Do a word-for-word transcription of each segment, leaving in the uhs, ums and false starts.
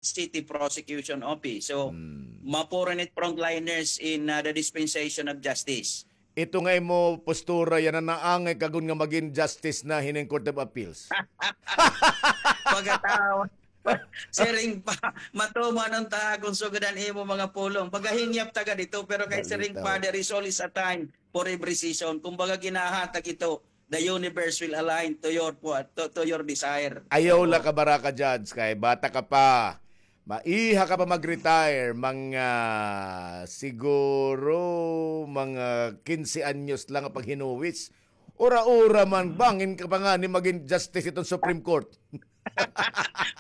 City Prosecution Office. So, mapuro ini frontliners in, uh, the dispensation of justice. Ito nga imo postura yana, naangay ka gud nga magin justice na hining Court of Appeals? Pagkatawa. Siring pa, matuman unta akon sugad an imo mga pulong. Pagahingyap ta gad ito, pero kay siring pa, there is always a time for every season. Kumbaga, ginahatag ito, the universe will align to your, to, to your desire. Ayaw la ka baraka, Judge, kay bata ka pa. Maiha ka pa mag-retire, mga siguro, mga kinse anyos lang ang paghinuwis. Ura-ura man, bangin ka pa ngani magin justice iton Supreme Court.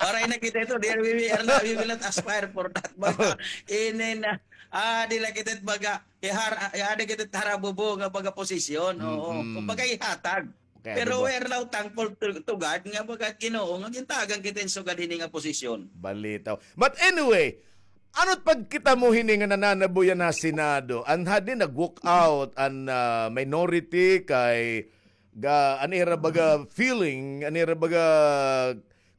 Waray na kita ito, dear, we, we are not, we will not aspire for that. Baga, inin, ah, di la kita baga, ihar-, ihar-, kita harabubo nga baga posisyon. Oo. Kumbaga ihatag. Pero we are now thankful to, to God nga baga Ginoo nga gintagan kita hin sugad hini nga posisyon. Balitaw. But anyway, ano it pagkita mo hini nga nananabo yana ha Senado? An hadi nag-walk out an, ah, minority kay ga, an ira baga feeling, an ira baga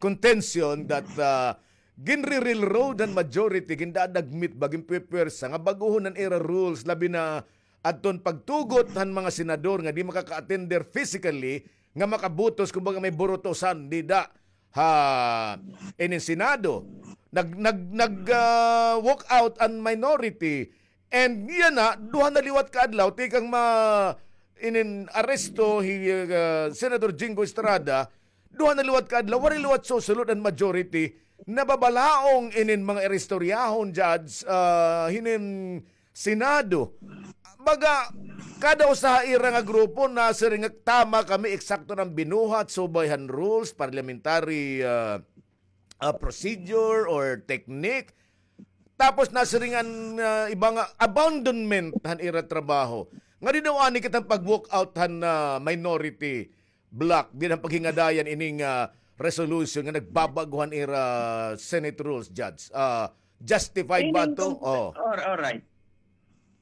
contention that, ah, ginre-railroad han majority, gindadagmit ba, ginpwepuwersa nga bag-ohon an ira rules, labi na adton pagtugot han mga senador nga di makaka-attend der physically nga makabutos, kumbaga may burutosan dida ha inin Senado. Nag, nag, nag, ah, walk out an minority. And yana, duha na liwat ka adlaw, tikang ma-, inin aresto hi, ah, Senator Jinggo Estrada, duha na liwat ka adlaw, waray liwat susulod an majority. Nababalaong inin mga ira istoryahon, Judge, ah, hinin Senado. Baga, kada usa ha ira nga grupo nasiring nga tama kami, eksakto an binuhat, subay han rules, parliamentary, ah, ah, procedure or technique. Tapos nasiring an, ah, iba nga abandonment han ira trabaho. Nganhi daw ani kita pag-walk out han, ah, minority bloc, dida han paghingadayan ining, ah, resolution nga nagbabag-o han ira Senate rules, Judge. Ah, justified ba ito? Oh. All right.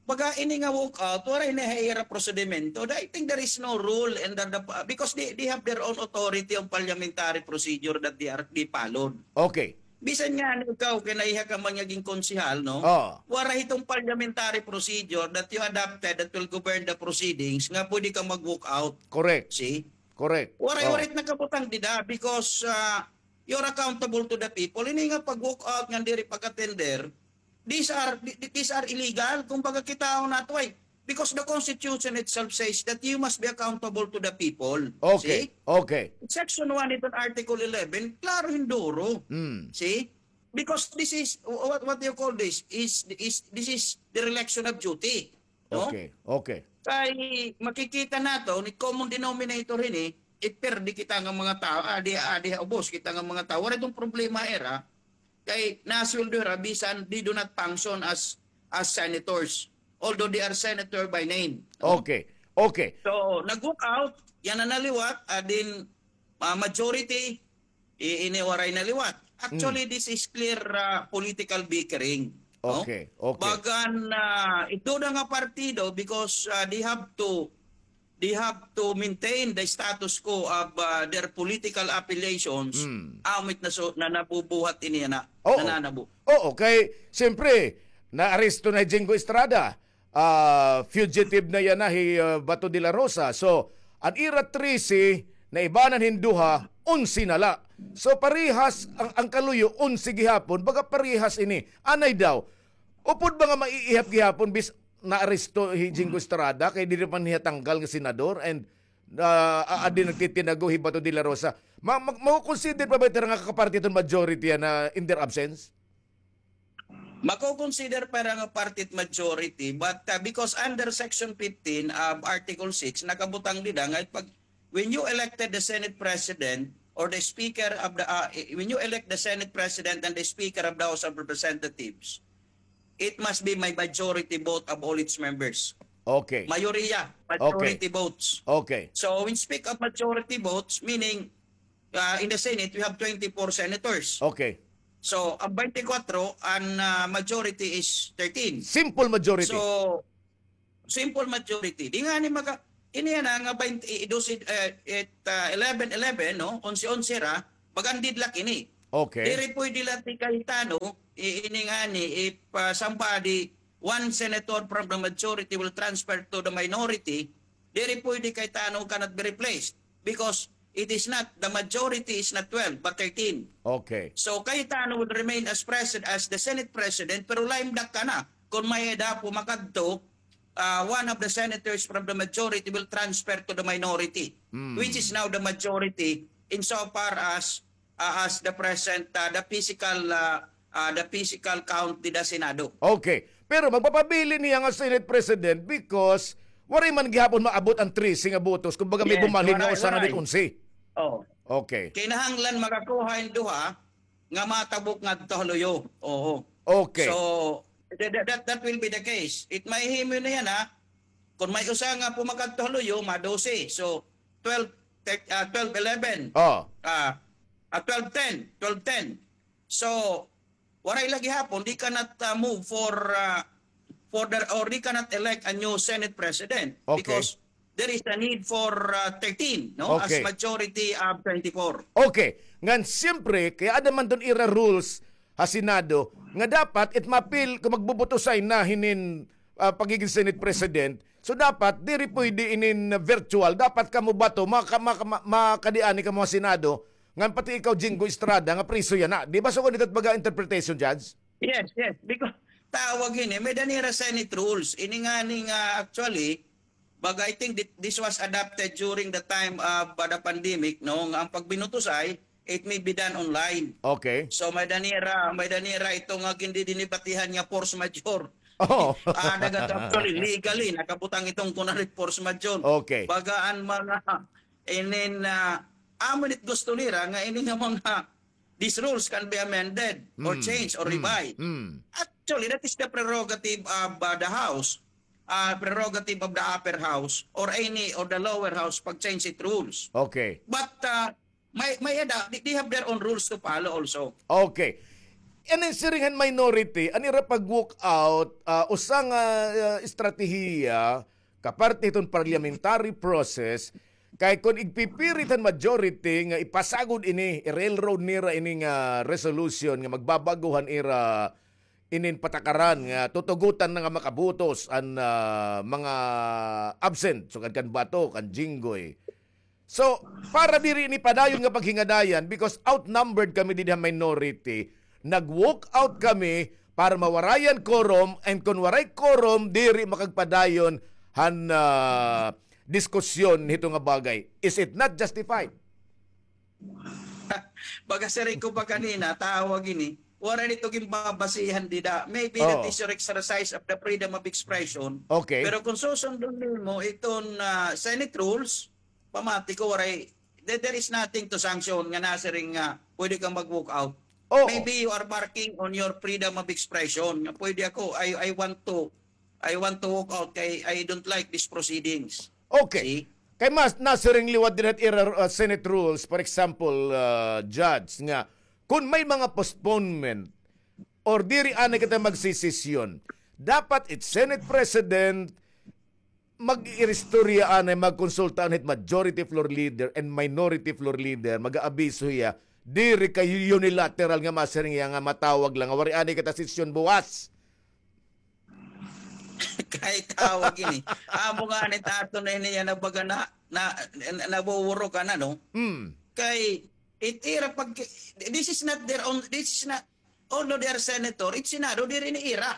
Baga ini nga walk out, waray ini ha ira prosedimento. I think there is no rule and the, the, because they, they have their own authority on parliamentary procedure that they are, they followed. Okay. Bisan nga ikaw, kay naiha ka man nga gin konsehal, no? Oh. Waray iton parliamentary procedure that you adopted that will govern the proceedings nga pwede ka mag-walk out. Correct. See? Correct. Waray, waray nakabutang dida because, ah, you're accountable to the people. Ini nga pag-walk out nga diri pag-attender, these are, th-, th-, these are illegal. Kumbaga, kitaon nato, ay, because the Constitution itself says that you must be accountable to the people. Okay. See? Okay. Section one iton Article eleven, klaro hin duro. See? Because this is, what, what do you call this? Is, is, this is dereliction of duty. No? Okay, okay. Kay makikita naton, it common denominator hini, it perdi kita nga mga tawo, adi, adi ha ubos kita nga mga tawo. Waray iton problema ira, kay nasweldo hira bisan they do not function as, as senators, although they are senator by name. No? Okay, okay. So, nag-walk out, yana na liwat, adin, ah, majority, I-, ini waray na liwat. Actually, this is clear, ah, political bickering, no? Okay, okay. Bagan, ah, ito na nga partido because, ah, they have to, they have to maintain the status quo of, ah, their political affiliations. Amo it na, so, na nabubuhat ini na, oo, nananabo. Oo, kay, siyempre, naaresto na hi Jinggo Estrada. Ah, fugitive na yana hi, ah, Bato de la Rosa. So, an ira trese, naibanan hin duha, onse na la. So, parehas an, an kaluyo, onse gihapon, baga parehas ini. Anay daw, upod ba nga maiihap gihapon bis naaresto hi Jinggo Estrada, kay diri man hiya tanggal nga senador, and, ah, aadi nagtitinago hi Bato de la Rosa. Ma-, ma-, mako-consider pa ba ito nga kaparti iton majority yana in their absence? Mako-consider pa hira nga party it majority, but, uh, because under Section fifteen of Article six, nakabutang dida nga pag, when you elected the Senate President or the Speaker of the, uh, when you elect the Senate President and the Speaker of the House of Representatives, it must be my majority vote of all its members. Okay. Mayoriya, majority votes. Okay. So, when speak of majority votes, meaning, uh, in the Senate, we have twenty-four senators. Okay. So, an twenty-four, an, ah, majority is thirteen. Simple majority. So, simple majority. Di ngani maka-, ini yana nga twenty, eh, dose, eh, it, ah, eleven eleven, no? Onse onse ra, mag-deadlock ini. Okay. Diri pwede la ti kahitano, i-, ini ngani, if, ah, somebody, one senator from the majority will transfer to the minority, diri pwede kahitano cannot be replaced because it is not, the majority is not twelve, but thirteen. Okay. So, kahitano will remain as president, as the Senate president, pero lame duck ka na. Kon may-ada pumakadto, ah, one of the senators from the majority will transfer to the minority, Mm. which is now the majority insofar as, ah, as the present, ah, the physical, ah, ah, the physical count dida Senado. Okay. Pero magpapabilin hiya nga Senate President because waray man gihapon maabot an trese nga botos. Kumbaga, may Yes, bumalhin nga waray, usa nga waray. Onse. Oh. Okay. Kinahanglan makakuha in duha nga matabok ngadto ha luyo. Oo. Okay. So, that, that, that, that will be the case. It may himo na yana, ha? Kon may usa nga pumakadto ha luyo, ma-dose. So, twelve, thir-, ah, twelve eleven. Oh. Ah, ah, twelve ten, twelve ten. So, waray la gihapon, they cannot, ah, move for, ah, for the, or they cannot elect a new Senate President Okay. because there is a need for, ah, thirteen, no? As Okay. majority of twenty-four. Okay. Ngan, siyempre, kay-ada man dun ira rules ha Senado nga dapat it mapil, kon magbubutusay na hinin, ah, pagigin Senate President, so dapat diri pwede inin virtual. Dapat kamo bato, maka-, maka-, ma-, makadi ani kamo ha Senado, ngan pati ikaw, Jinggoy Estrada, nga preso yana. Di ba, so, ganito baga interpretation, Judge? Yes, yes. Because tawag ini, may-ada nira Senate rules. Ini ngani nga, actually, baga, I think thi-, this was adopted during the time of, uh, the pandemic, no? Nga ang pagbinutusay, it may be done online. Okay. So, may-ada nira, may-ada nira ito nga gindidinibatihan nga force majeure. Oh. Ah, naga-, actually, legally, nakabutang iton kuan nga force majeure. Okay. Baga an mga, inin, ah, amo it gusto nira nga ini nga mga these rules can be amended or Mm, changed or mm, revised. Mm. Actually, that is the prerogative of, uh, the House, uh, prerogative of the upper house or any, or the lower house pag-change it rules. Okay. But, uh, may, may-ada, they, they have their own rules to follow also. Okay. An siring han minority, an ira pag-walk out, ah, usa nga, ah, estratehiya, kaparte hiton parliamentary process, kay kon igpipirit han majority nga ipasagod ini, i-railroad nira ini nga resolution nga magbabag-o han ira inin patakaran nga tutugotan na nga makabotos an, ah, mga absent, sugad kan Bato, kan Jinggoy. So, para diri ini padayon nga paghingadayan, because outnumbered kami dida minority, nag-walk out kami para mawarayan quorum, and kon waray quorum, diri makagpadayon han, ah, diskusyon hito nga bagay. Is it not justified? Baga siring ko pa kanina, tawag ini, waray nito ginbabasihan dida. Maybe that Oo. is your exercise of the freedom of expression. Okay. Pero kung susundon nimo iton, ah, Senate rules, pamati ko waray, there, there is nothing to sanction nga nasiring nga pwede kang mag-walk out. Oo. Maybe you are barking on your freedom of expression. Nga pwede ako, I, I want to, I want to walk out kay I don't like these proceedings. Okay. See? Kay mas nasiring liwat dida ha ira, uh, Senate rules, for example, uh, Judge, nga kon may mga postponement or diri anay kita magsesesyon, dapat it Senate President mag-iristorya anay, magkonsulta anay hit majority floor leader and minority floor leader, mag-aabiso hiya, diri kay unilateral nga masiring hiya nga matawag la nga waray anay kita sesyon buwas. Kay tawag ini. Amo ngani it aton na ini yana baga na, na, na, nawuwuro ka na, no? Mm. Kay, it ira pag, this is not their own, this is not, although they are senator, it Senado, diri ini ira.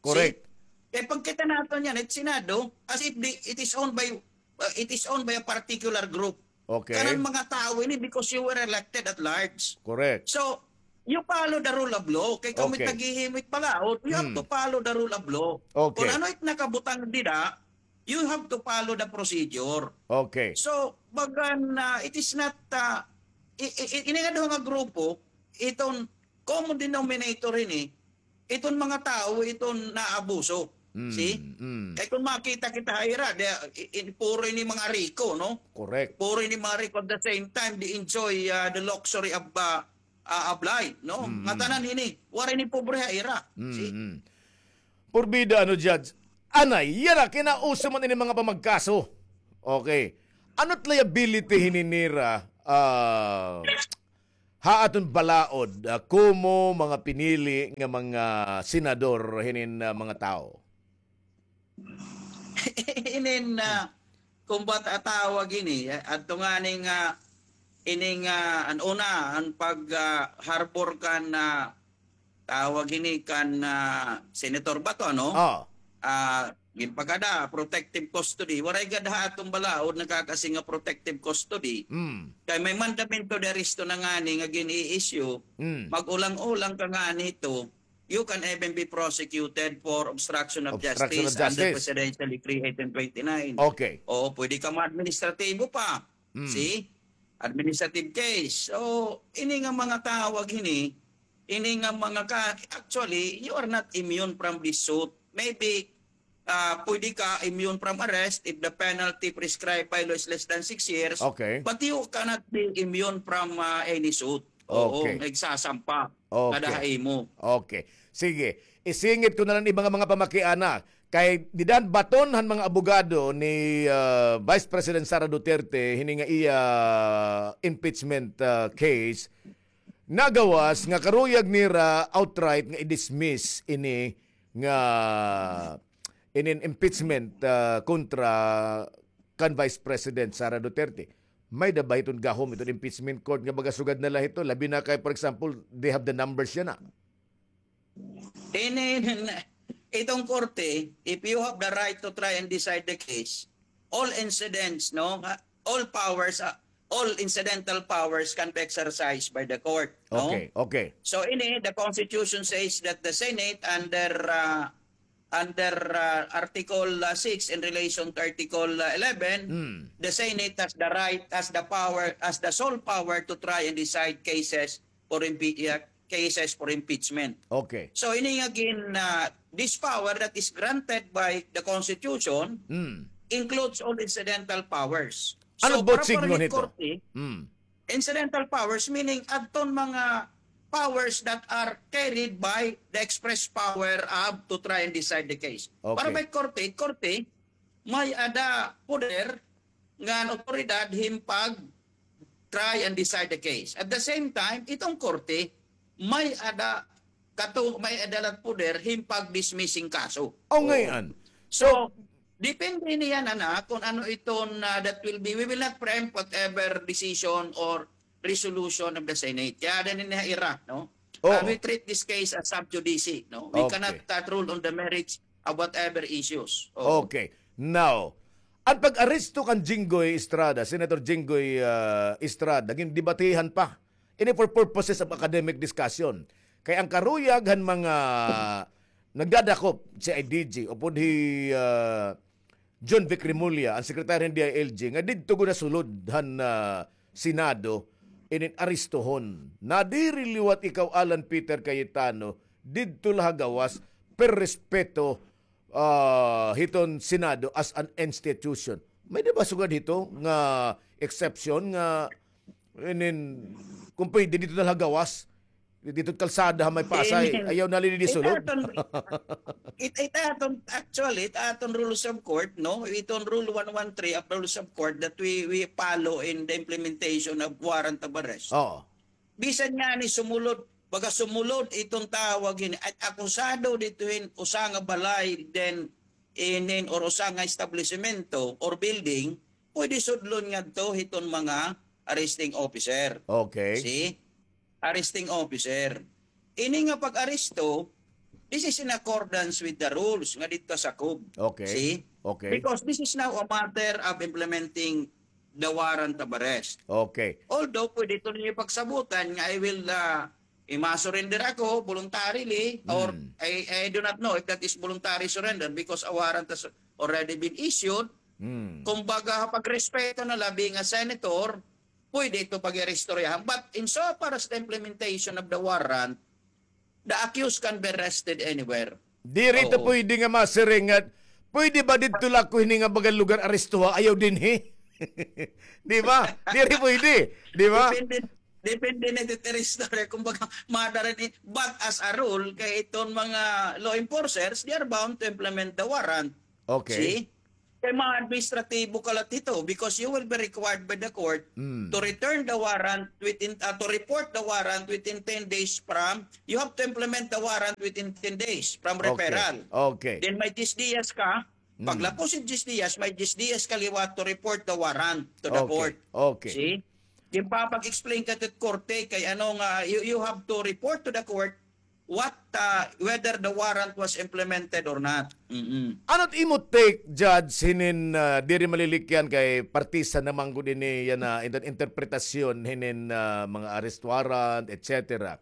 Correct. See? Kay pagkita naton yana, it Senado, as if the, it is owned by, uh, it is owned by a particular group. Okay. Kanan mga tawo ini because you were elected at large. Correct. So, you follow the rule of law. Kay kamo Okay. taghihimo hit balaod, you have Hmm. to follow the rule of law. Okay. Kung ano it nakabutang dida, you have to follow the procedure. Okay. So, bagan, ah, it is not, ah, i-, i-, i-, ini nga duha nga grupo, iton common denominator ini, iton mga tawo, iton naabuso. Mm, See? mm. Kay kung makita kita ha ira, di, i-, i-, puro ini mga riko, no? Correct. Puro ini mga riko. At the same time, they enjoy, ah, the luxury of, ah, ah, of life, no? Mm, Nga mm. tanan ini, waray ini pobre ha ira. Mm, See? mm. Porbida, ano, Judge? Anay, yara, kinauso man ini mga pamagkaso. Okay. Ano't liability hini nira, ah, ha aton balaod, ah, komo mga pinili nga mga senador hinin, ah, mga tawo? Inin, ah, kumbat a tawag ini, ah, adto ngani nga, ini nga, an una, an pag, ah, harbor kan, ah, tawag ini kan, ah, Senator Bato, ano? Ah. Ah, ginpakada, protective custody. Waray gad ha aton balaod nakakasi nga protective custody. Mm. Kay may mandamento de arresto na ngani nga gin-i-issue, mm, mag-ulang-ulang ka ngani ito, you can even be prosecuted for obstruction of justice under Presidential Decree eighteen twenty-nine. Okay. Oo, pwede ka ma-administratibo pa. Mm. See? Administrative case. So, ini nga mga tawag ini, ini nga mga ka-, actually, you are not immune from this suit. Maybe, ah, pwede ka immune from arrest if the penalty prescribed by law is less than six years, okay, but you cannot be immune from, ah, any suit. Oo, okay, nagsasampa. Okay. Kada ha imo. Okay. Sige. Isingit ko na lang iba nga mga pamakiana. Kay dida han baton han mga abogado ni, ah, Vice President Sara Duterte, hini nga iya impeachment, ah, case, nagawas nga karuyag nira outright nga i-dismiss ini nga inin impeachment, ah, kontra kan Vice President Sara Duterte. May-ada ba hiton gahom iton impeachment court nga baga sugad na la hito? Labi na kay, for example, they have the numbers yana. Ini, iton korte, if you have the right to try and decide the case, all incidents, no, ha, all powers, ah, all incidental powers can be exercised by the court, no? Okay, okay. So, ini, the Constitution says that the Senate under, ah, under, ah, Article, ah, six in relation to Article, ah, eleven, mm, the Senate has the right, has the power, has the sole power to try and decide cases for impe-, ah, cases for impeachment. Okay. So, ini nga gin, ah, this power that is granted by the Constitution, mm, includes all incidental powers. Ano ba it signify nito? So, para, para korte, mm, incidental powers, meaning adton mga powers that are carried by the express power of to try and decide the case. Okay. Para may korte, korte, may-ada poder ngan awtoridad hin pag-try and decide the case. At the same time, iton korte, may-ada kato, may-ada la poder hin pag-dismiss hin kaso. O, oo, ngay-an. So, so, depende niyan, ana, kon ano iton, ah, that will be, we will not preempt whatever decision or resolution of the Senate. Kay aada ini ha ira, no? Oo. Ah, we treat this case as sub judice, no? We, okay, cannot, ah, rule on the merits of whatever issues. Oo. Okay. Now, an pag-aresto kan Jinggoy Estrada, Senator Jinggoy, ah, Estrada, gindebatehan pa. Ini for purposes of academic discussion. Kay an karuyag han mga nagdadakop, C I D G, upod hi, ah, John Vic Remulla, an sekretaryo han D I L G, nga didto gud ha sulod han, ah, Senado, inin arestohon. Nadiri liwat ikaw, Alan Peter Cayetano, didto la ha gawas, per respeto, ah, hiton Senado as an institution. May-ada ba sugad hito nga exception nga, inin, kon pwede didto na la ha gawas, didto kalsada ha may Pasay, ayaw na la ini sulod. It aton, it, it aton, actually, it aton rules of court, no? Iton Rule one one three of Rules of Court that we, we follow in the implementation of warrant of arrest. Oo. Bisan ngani sumulod, baga sumulod iton tawag hini, at akusado didto hin usa nga balay, then inin or usa nga establisemento or building, pwede sudlon ngadto hiton mga arresting officer. Okay. See? Arresting officer. Ini nga pag-aresto, this is in accordance with the rules nga didto sakob. Okay. See? Okay. Because this is now a matter of implementing the warrant of arrest. Okay. Although, pwede ito ninyo pagsabutan nga I will, ah, ima-surrender ako voluntarily, or, hmm, I, I do not know if that is voluntary surrender because a warrant has already been issued. Hmm. Kumbaga, pagrespeto na la, being a senator, pwede ito pag-iristoryahan. But in so far as the implementation of the warrant, the accused can be arrested anywhere. Diri ito pwede nga masiring nga, pwede ba didto la ako hini nga baga lugar arestoha? Ayaw dinhi. Di ba? Diri pwede. Di ba? Depende, depende na dito istorya. Kumbaga, madara ni, but as a rule, kay iton mga law enforcers, they are bound to implement the warrant. Okay. See? Kay mga administratibo ka la hito because you will be required by the court to return the warrant within, ah, to report the warrant within ten days from, you have to implement the warrant within ten days from referral. Okay. Then may diyes diyas ka, paglapos hin diyes diyas, may diyes diyas ka liwat to report the warrant to the court. Okay. See? Ginpapag-explain ka hit korte kay ano nga, you, you have to report to the court what, ah, whether the warrant was implemented or not. Mm-mm. Ano it imo take, Judge, hinin, ah, diri malilikyan kay partisan naman gud ini yana, inter-, interpretasyon hinin, ah, mga arrest warrant, et cetera.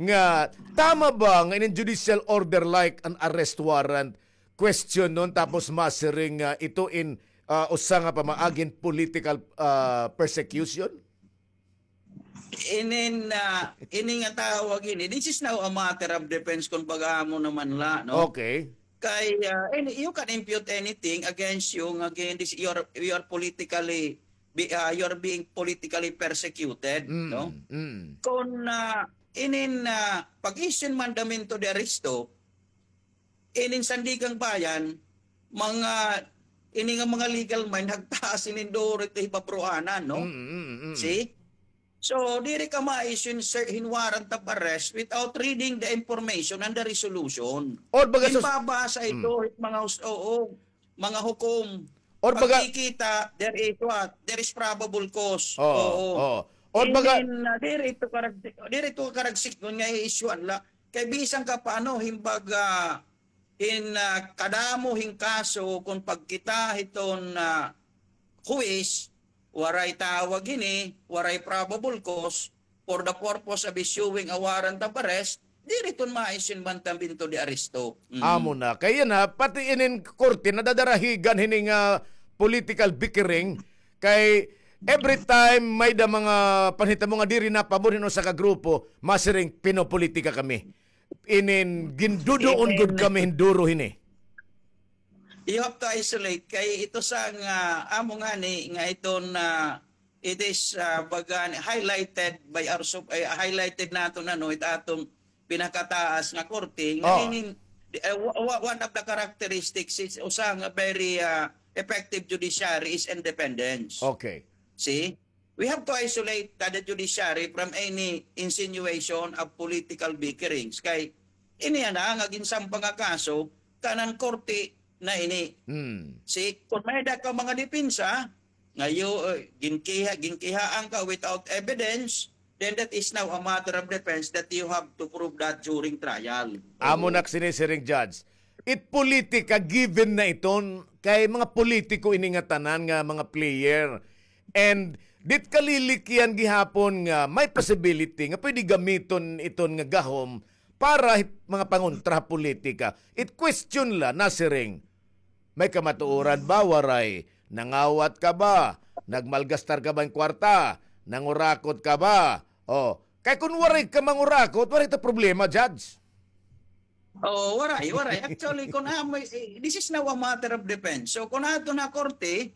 Nga tama ba nga inin judicial order like an arrest warrant question nun tapos masiring nga ito in, ah, usa nga pamaagi hin political, ah, persecution? Inin, ah, ini nga tawag ini, this is now a matter of defense, kumbaga amo naman la, no? Okay. Kay, ah, any, you can impute anything against you nga again, this, you are, you are politically, be, ah, you are being politically persecuted, no? Kon, ah, inin, ah, pag-issue hin mandamiento de arresto, inin Sandiganbayan, mga, ini nga mga legal mind, hagtaas inin duro it hibabruanan, no? See? So, diri ka ma-issue hin ser-, hin warrant of arrest without reading the information and the resolution. Or baga sus- Ginbabasa ito, mga hus-, oo, mga hukom. Or baga pagkikita, there is what? There is probable cause. Oo, oo. Or baga inin, ah, diri ito karag-, diri ito karagsiknon nga i-issue-an la. Kay bisan ka pa ano, hin baga, hin, ah, kadamo hin kaso kon pagkita hiton, ah, huwis, waray tawag hini, waray probable cause for the purpose of issuing a warrant of arrest, diri iton ma-issue hin mandamiento de arresto. Mm. Amo na. Kay yana, pati inin korte nadadarahigan hini nga political bickering kay every time may-ada mga panhitabo nga diri napabor hin usa ka grupo, masiring pinopolitika kami. Inin ginduduon gud kami hin duro hini. You have to isolate kay ito sa nga amo ngani nga iton, ah, it is, ah, baga ni highlighted by our sup-, eh, highlighted naton ano, it aton pinakataas nga korte nga inin, eh, wa-, wa-, one of the characteristics is usa nga very, ah, effective judiciary is independence. Okay. See? We have to isolate the judiciary from any insinuation of political bickerings. Kay ini ana nga ginsampa nga kaso, kanan korte na ini. Hmm. Si, kon may-ada ka mga depensa, nga you, uh, ginkiha-, ginkihaan ka without evidence, then that is now a matter of defense that you have to prove that during trial. Amo na sinisiring, Judge. It politika, given na iton, kay mga politiko ini nga tanan nga mga player. And dit kalilikyan gihapon nga may possibility nga pwede gamiton iton nga gahom para hit mga pangontra ha politika. It question la, nasiring, may kamatuoran ba, waray? Nangawat ka ba? Nagmalgastar ka ba hin kwarta? Nangurakot ka ba? Oh, kay kon waray ka mangurakot, waray ta problema, Judge. Oo, waray, waray. Actually, kon amo, eh, this is now a matter of defense. So, kon ato na korte,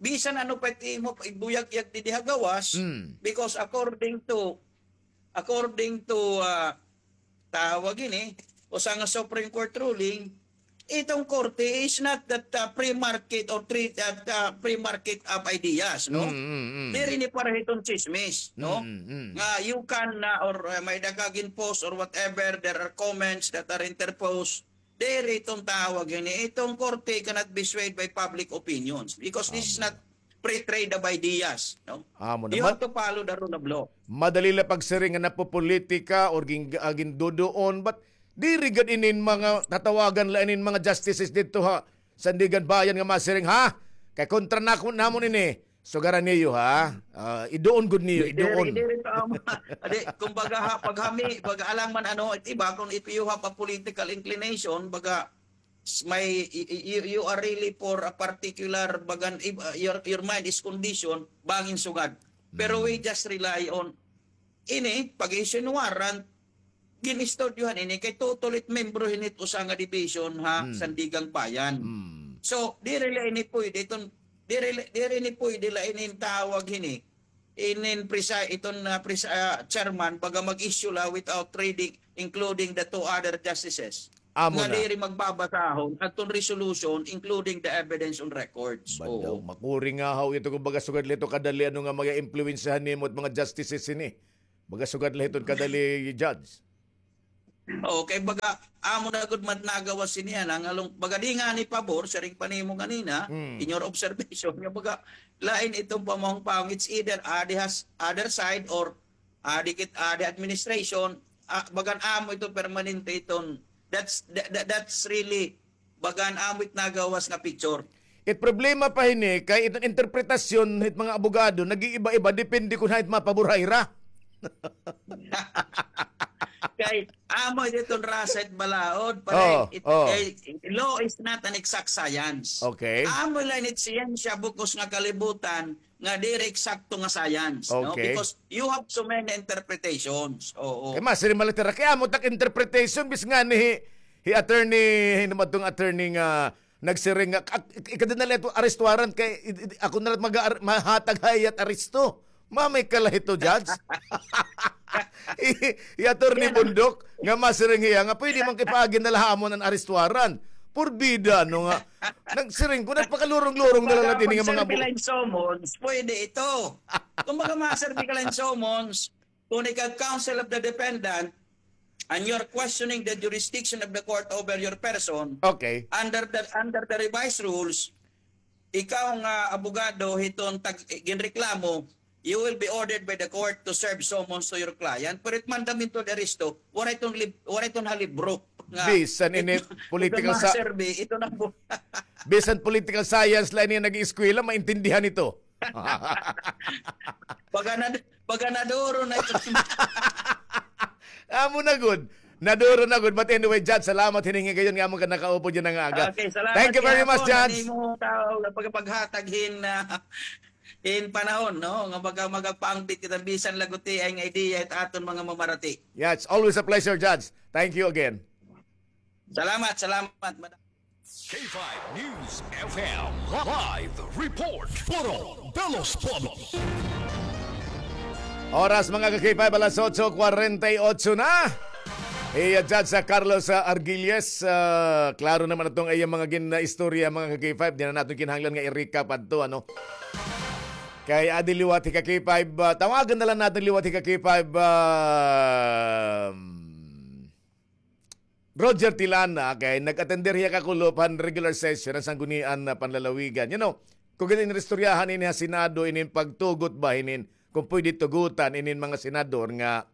bisan ano pa it imo ibuyagyag didi ha gawas, because according to, according to, ah, tawag ini, usa nga Supreme Court ruling, iton korte is not that, ah, free market or treat that, ah, free market of ideas, no? Mm, mm, mm. Diri ini para hiton tsismis, no? Mm, mm. Nga you can, ah, or, ah, may-ada ka gin-post or whatever, there are comments that are interposed. Diri iton tawag ini. Iton korte cannot be swayed by public opinions because this is not free trade of ideas, no? Amo na. You have to follow the rule of law. Madali la pagsiring nga napopolitika or gin-, ah, ginduduon, but diri gad inin mga tatawagan la inin mga justices didto ha Sandiganbayan nga masiring, ha? Kay kontra nako namon ini. Sugaran niyo, ha? Ah, iduon gud niyo, iduon. Diri, diri, tama. Adi, kumbaga ha, paghami, pag alang man ano, it iba, kung if you have a political inclination, baga, s-, may, y-, y-, you, you are really for a particular, bagan, if, uh, your, your mind is conditioned, bangin sugad. Pero we just rely on ini, pag-issue hin warrant, gin-istudyohan ini kay totally membro hini it usa nga division ha Sandiganbayan. So, diri la ini pwede iton, diri la, diri ini pwede la ini tawag hini, inin presi-, iton, ah, presi-, ah, chairman, baga mag-issue la without reading, including the two other justices. Amo nga na. Diri magbabasahon aton resolution, including the evidence on records. Badaw, oo. Makuri nga haw ito, kumbaga, sugad la ito kadali, ano nga, mag-impluwensyahan nimo it mga justices ini. Baga sugad la hiton kadali, Judge. Okay, baga, amo na gud man nagawas ini, ana, nga lung-, baga di ngani pabor, siring pa nimo ganina, in your observation, nga baga, lain iton pamahong-pahong, it's either adi has, other side or adi kit, adi administration, ah, bagan amo ito permanente iton, that's, that, that, that's really bagan amo it nagawas nga picture. It problema pa hini, kay iton interpretasyon hit mga abogado, nag-iiba-iba, depende kon hain it mapabor ha ira. Kay, amo iton rasa it balaod, pare, oh, it, oh. Kay, law is not an exact science. Okay. Amo la ini it siyensya, bug-os nga kalibutan, nga diri eksakto nga science, no? Okay. Because you have so many interpretations. Oo. Kay masiring man la it ira, kay amo tak interpretation, bis ngani hi, hi attorney, hin-o man iton attorney nga nagsiring nga, ak-, ik-, ikadi na la ito arrest warrant kay i-, i-, ako na la mag-, mahatag ha iya it aresto. Mamay ka la hito, Judge. Hi, hi Attorney Bundok, nga masiring hiya, nga pwede man ipaagi na la ha amon an arrest warrant. Purbida, ano nga. Nagsiring ko, nagpakalurong-lurong na la ini nga mga bu- Pag-serve la hin summons, pwede ito. Kung baga ma-serve ka la hin summons, kung ikaw counsel of the defendant, and you're questioning the jurisdiction of the court over your person, okay, under the, under the revised rules, ikaw nga abogado hiton tag-, ginreklamo, you will be ordered by the court to serve summons to your client. Pero it mandamiento de arresto, waray iton lib-, waray iton ha libro nga bisan ini it, political sa-, ito na po. Bisan political science la ini nag-eskwela, maintindihan ito. Baga na, baga naduro na ito. Amo na gud. Naduro na gud. But anyway, Judge, salamat hinin higayon nga amon ka nakaupod yana nga aga. Okay, salamat. Thank you very much, Judge. Ano mo tao, pagpaghatag hin, ah, hin panahon, no? Nga maga-, magagpaambit kita bisan la gutiay nga ideya it aton mga mamarati. Yeah, it's always a pleasure, Judge. Thank you again. Salamat, salamat, madam. K five News F M live report. Foro de los Pueblos. Oras, mga ka-K five, alas otso kwarenta y otso na. Iya, Judge, ah, Carlos, ah, Argilles, ah, klaro naman iton iya mga gin-, ah, istorya, mga ka-K five. Di na naton kinahanglan nga i-recap adto, ano? Kay adi liwat hi ka-K five, ah, tawagan na la naton liwat hi ka-K five, ah, Roger Tilana, kay nag-attender hiya kakulop han regular session han Sanggunian nga Panlalawigan. You know, kon gin-inistoryahan ini ha Senado, inin pagtugot ba hinin, kon pwede tugutan inin mga senador nga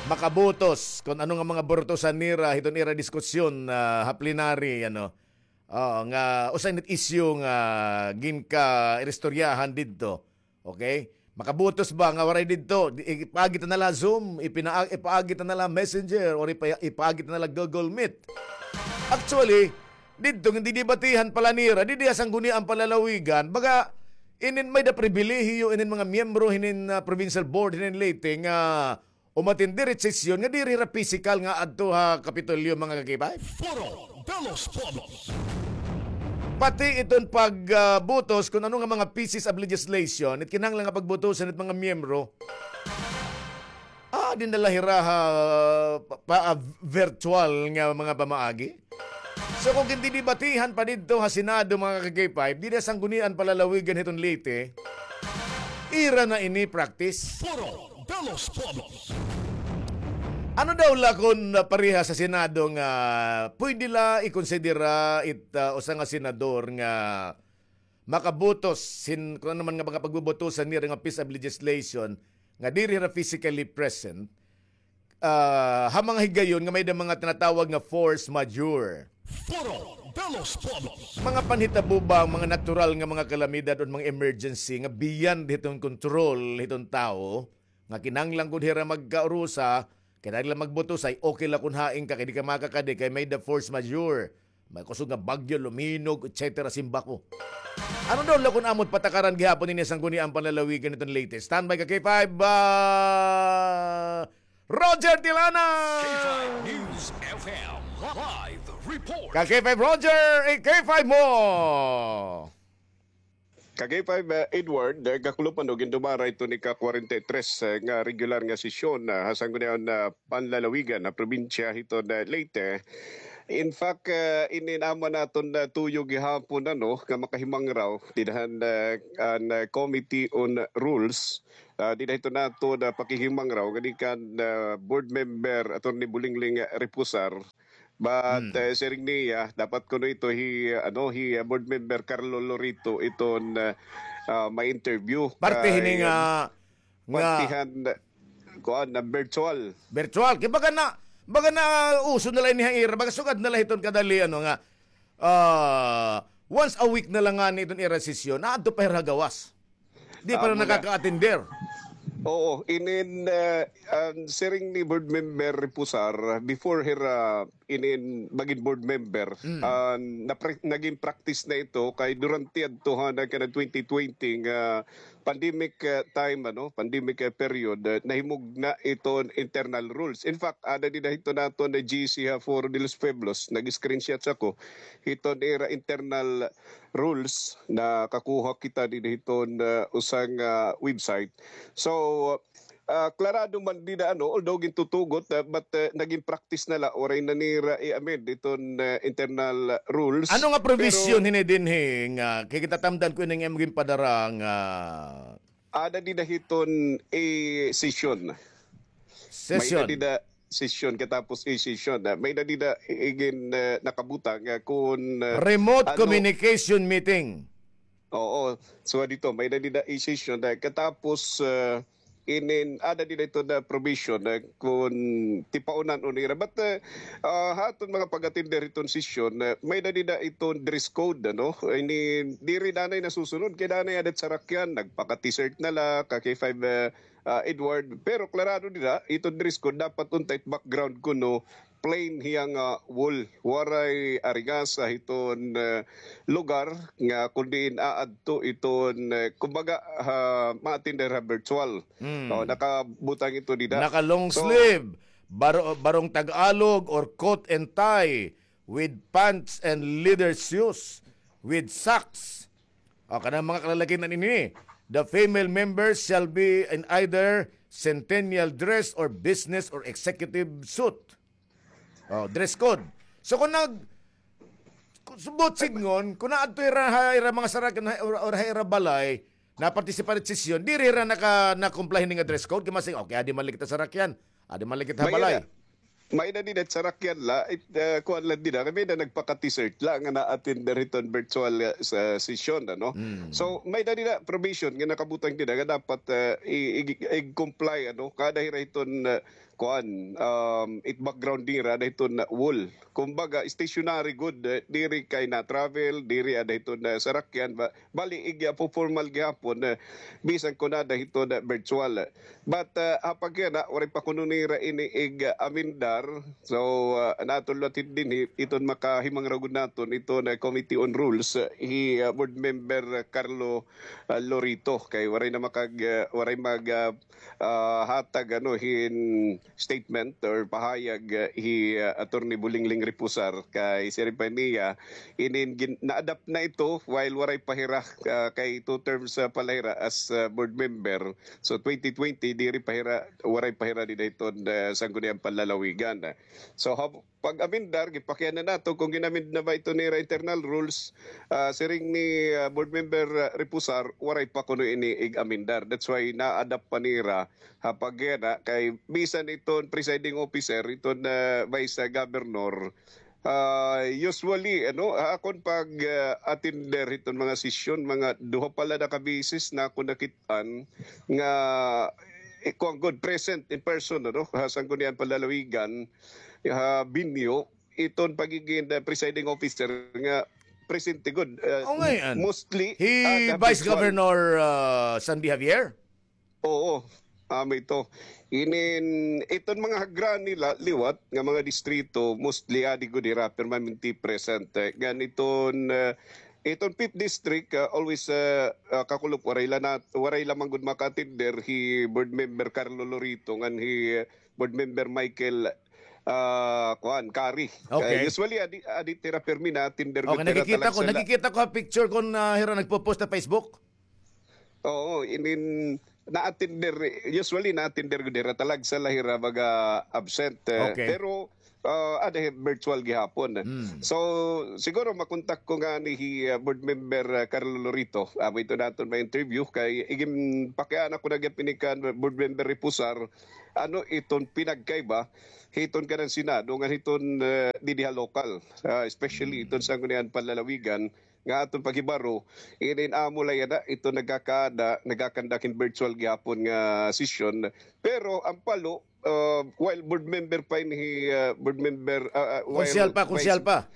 makabutos kon ano nga mga burutosan nira hiton ira diskusyon, ah, ha plenary, ano. Oo, nga usa ini it issue nga ginka-inistoryahan didto. Okay? Makabutos ba nga waray didto? Di, ipaagi ta na la Zoom, ipina-, ipaagi ta na la Messenger, or ipa-, ipaagi ta na la Google Meet. Actually, didto, gindidebatihan pa la nira, didi ha Sangguniang Panlalawigan, baga, inin may-ada pribilehiyo, inin mga miyembro, hinin, ah, provincial board, hinin Leyte, nga umatindi hit sesyon nga diri hira pisikal nga adto ha Kapitolyo, mga ka-K five. Foro de los Pueblos. Pati iton pag, ah, butos kon ano nga mga pieces of legislation it kinahanglan nga pagbutosan hit mga miyembro. Ah, di na la hira ha pa, pa, ah, virtual nga mga pamaagi. So, kon gindidebatihan pa didto ha Senado, mga ka-K five, didi ha Sanggunian Panlalawigan hiton Leyte, ira na ini practice. Foro de los Pueblos. Ano daw la kon, ah, parehas ha Senado nga pwede la ikonsidera it, ah, usa nga senador nga makabutos hin, kon ano man nga mga pagbubutosan nira nga piece of legislation nga diri hira physically present, ah, ha mga higayon nga may-ada mga tinatawag nga force majeure. Foro de los Pueblos. Mga panhitabo ba, mga natural nga mga kalamidad o mga emergency nga beyond hiton control hiton tawo, nga kinahanglan gud hira magkaurusa, kinahanglan magbutos, ay okay la kon hain ka, kay di ka makakadi, kay may-ada force majeure. May kusog nga bagyo, luminog, et cetera, simbako. Ano daw la kon amo it patakaran gihapon hini ha Sangguniang Panlalawigan hiton Leyte? Standby ka, K five, ah, Roger Tilana! K five News F M live report. Ka K five Roger, i-K five mo! Ka K five, ah, Edward, ah, gakulupan o gindumara ito ni ka kwarenta y tres, ah, nga regular nga sesyon, ah, ha Sangguniang, ah, Panlalawigan ha probinsya hiton, ah, Leyte. In fact, ah, inin amo naton, ah, tuyo gihapon, ano, nga makahimangraw dida han, ah, an, ah, Committee on Rules, ah, dida hiton aton, ah, pakihimangraw ngan kan, ah, Board Member Attorney Bulingling Reposar. But, ah, siring niya, dapat kuno ito hi, ano, hi, ah, Board Member Carlo Lorito iton, ah, ah, ma-interview. Parte hini kay, nga, ah, nga parte han, kuan, na virtual. Virtual. Kay baga na, baga na uso na la ini ha ira, baga sugad na la hiton kadali, ano nga, ah, once a week na la ngani iton ira sesyon, aadto pa hira ha gawas. Di pa la nakaka-attender. Oo, inin, ah, an siring ni Board Member Reposar, before hira inin magin board member, ah, napra-, nagin practice na ito kay durante adto han, ah, kana twenty twenty nga pandemic, ah, time, ano, pandemic, ah, period, ah, nahimugna iton internal rules. In fact, ada dida hiton aton na G C ha Foro de los Pueblos, nag-screenshot ako hiton ira internal rules, nakakuha kita dida hiton, ah, usa nga website. So, ah, klarado man dida, ano, although gintutugot, ah, but, ah, nagin practice na la, waray na nira i-amend iton, ah, internal rules. Ano nga provision hini dinhi nga, kay kitatamdan ko ini nga imo ginpadara nga ada dida hiton e-session. Session. May-ada dida session, katapos e-session. Ah, may-ada dida igin, ah, nakabutang, ah, kun, ah, remote communication meeting. Oo. So, dito, may-ada dida e-session. Ah, katapos, ah, inin, ada dida ito na provision, ah, kun tipaunan-on nira. But, ah, ah, ha aton mga pag-attender iton session, ah, may-ada dida iton dress code, ano? Ini, diri danay nasusunod. Kay danay adat sarakyan, nagpaka-T-shirt na la, ka K five, ah, ah, Edward. Pero klarado dida, iton dress code, dapat unta it background kuno plain hiya nga wall. Waray arigasa hiton, ah, lugar nga kun diin aadto iton, ah, kumbaga, ah, ma-attender ha virtual. O, nakabutang ito dida. Naka long sleeve, baro-, barong Tagalog or coat and tie with pants and leather shoes with socks. O, kanang mga kalalakihan ini. The female members shall be in either centennial dress or business or executive suit. O, dress code. So, kung nag-, kung subot sidngon, kung naadto ira ha ira mga sarakyan or, or ha ira balay, na-participate session, diri hira naka, na-comply hini nga dress code, kay masing, okay, adi man la kita sarakyan, adi man la kita balay. May-ada dida sarakyan la, it, ah, kuan la dida, kay may-ada nagpaka-T-shirt la nga na-attender hiton virtual, ah, sa session, ano? So, may-ada dida provision nga nakabutang dida nga dapat, ah, i-, i-, i-comply, ano, kada hira hiton, ah, kuan, um, it background nira, ada hiton wall. Kumbaga, stationary gud, ah, diri kay na-travel, diri ada hiton, ah, sarakyan, ba, bali, ig, ah, formal gihapon, ah, bisan kon ada hiton, ah, virtual. But, ah, ha pagkana, waray pa kuno nira ini ig, ah, amendar. So, ah, an aton latin dinhi, iton makahimangraw gud naton, iton, ah, Committee on Rules, ah, hi, ah, Board Member, ah, Carlo, ah, Lorito. Kay waray na makag-, ah, waray mag-, ah, ah, hatag, ano, hin statement or pahayag, ah, hi, ah, Attorney Bulingling Reposar. Kay siring pa niya, inin gin-, na-adapt na ito while waray pa hira, ah, kay two terms, ah, pa la hira as, ah, board member. So, twenty twenty, diri pa hira, waray pa hira dida hiton, ah, Sangguniang Panlalawigan. So, hab-, pag-amendar, gipakiana nato kon gin-amend na ba ito nira internal rules. Ah, siring ni, ah, Board Member, ah, Reposar, waray pa kuno ini ig-amendar. That's why na-adapt pa nira ha pagkiana kay bisan iton presiding officer, iton, ah, vice, ah, governor, ah, usually, ano, ha akon pag, ah, attender hiton mga sesyon, mga duha pa la na ka beses na ako nakit-an nga, eh, kuan gud, present in person, ano, ha Sangguniang Panlalawigan, ha venue, iton pagigin, uh, presiding officer nga presente gud, uh, mostly, hi Vice Governor, uh, Sandy Javier? Oo, amo ito. Inin, iton mga hagra nila liwat nga mga distrito, mostly adi gud hira permanente present. Ngan iton, uh, iton fifth district, uh, always, uh, uh, kakulop, waray la na, waray la man gud maka-attender hi Board Member Carlo Lorito ngan hi, uh, Board Member Michael, ah, kuan, Kari. Okay. Kay usually, adi, adi hira permi na-attender gud hira. Nakikita ko, nakikita ko ha picture kon, ah, hira nagpo-post ha Facebook. Oo, inin, na-attender, usually na-attender gud hira, talagsa la hira baga absent, eh. Okay. Pero ah, ada hi virtual gihapon. Mm. So, siguro makontak ko ngani hi, ah, Board Member, ah, Carlo Lorito. Amo ito naton ma-interview kay iginpakiana ko na gihapon ini kan Board Member Reposar, ano iton pinagkaiba hiton kanan Senado ngan hiton, ah, didi ha lokal, ah, especially iton Sangguniang Panlalawigan nga aton paghibaro, inin amo la yana, ito nagkakaada, nagkakandak hin virtual gihapon nga sesyon. Pero an Palo, ah, while board member pa ini hi, ah, board member, ah, ah, while Konsehal pa, vice, konsehal pa.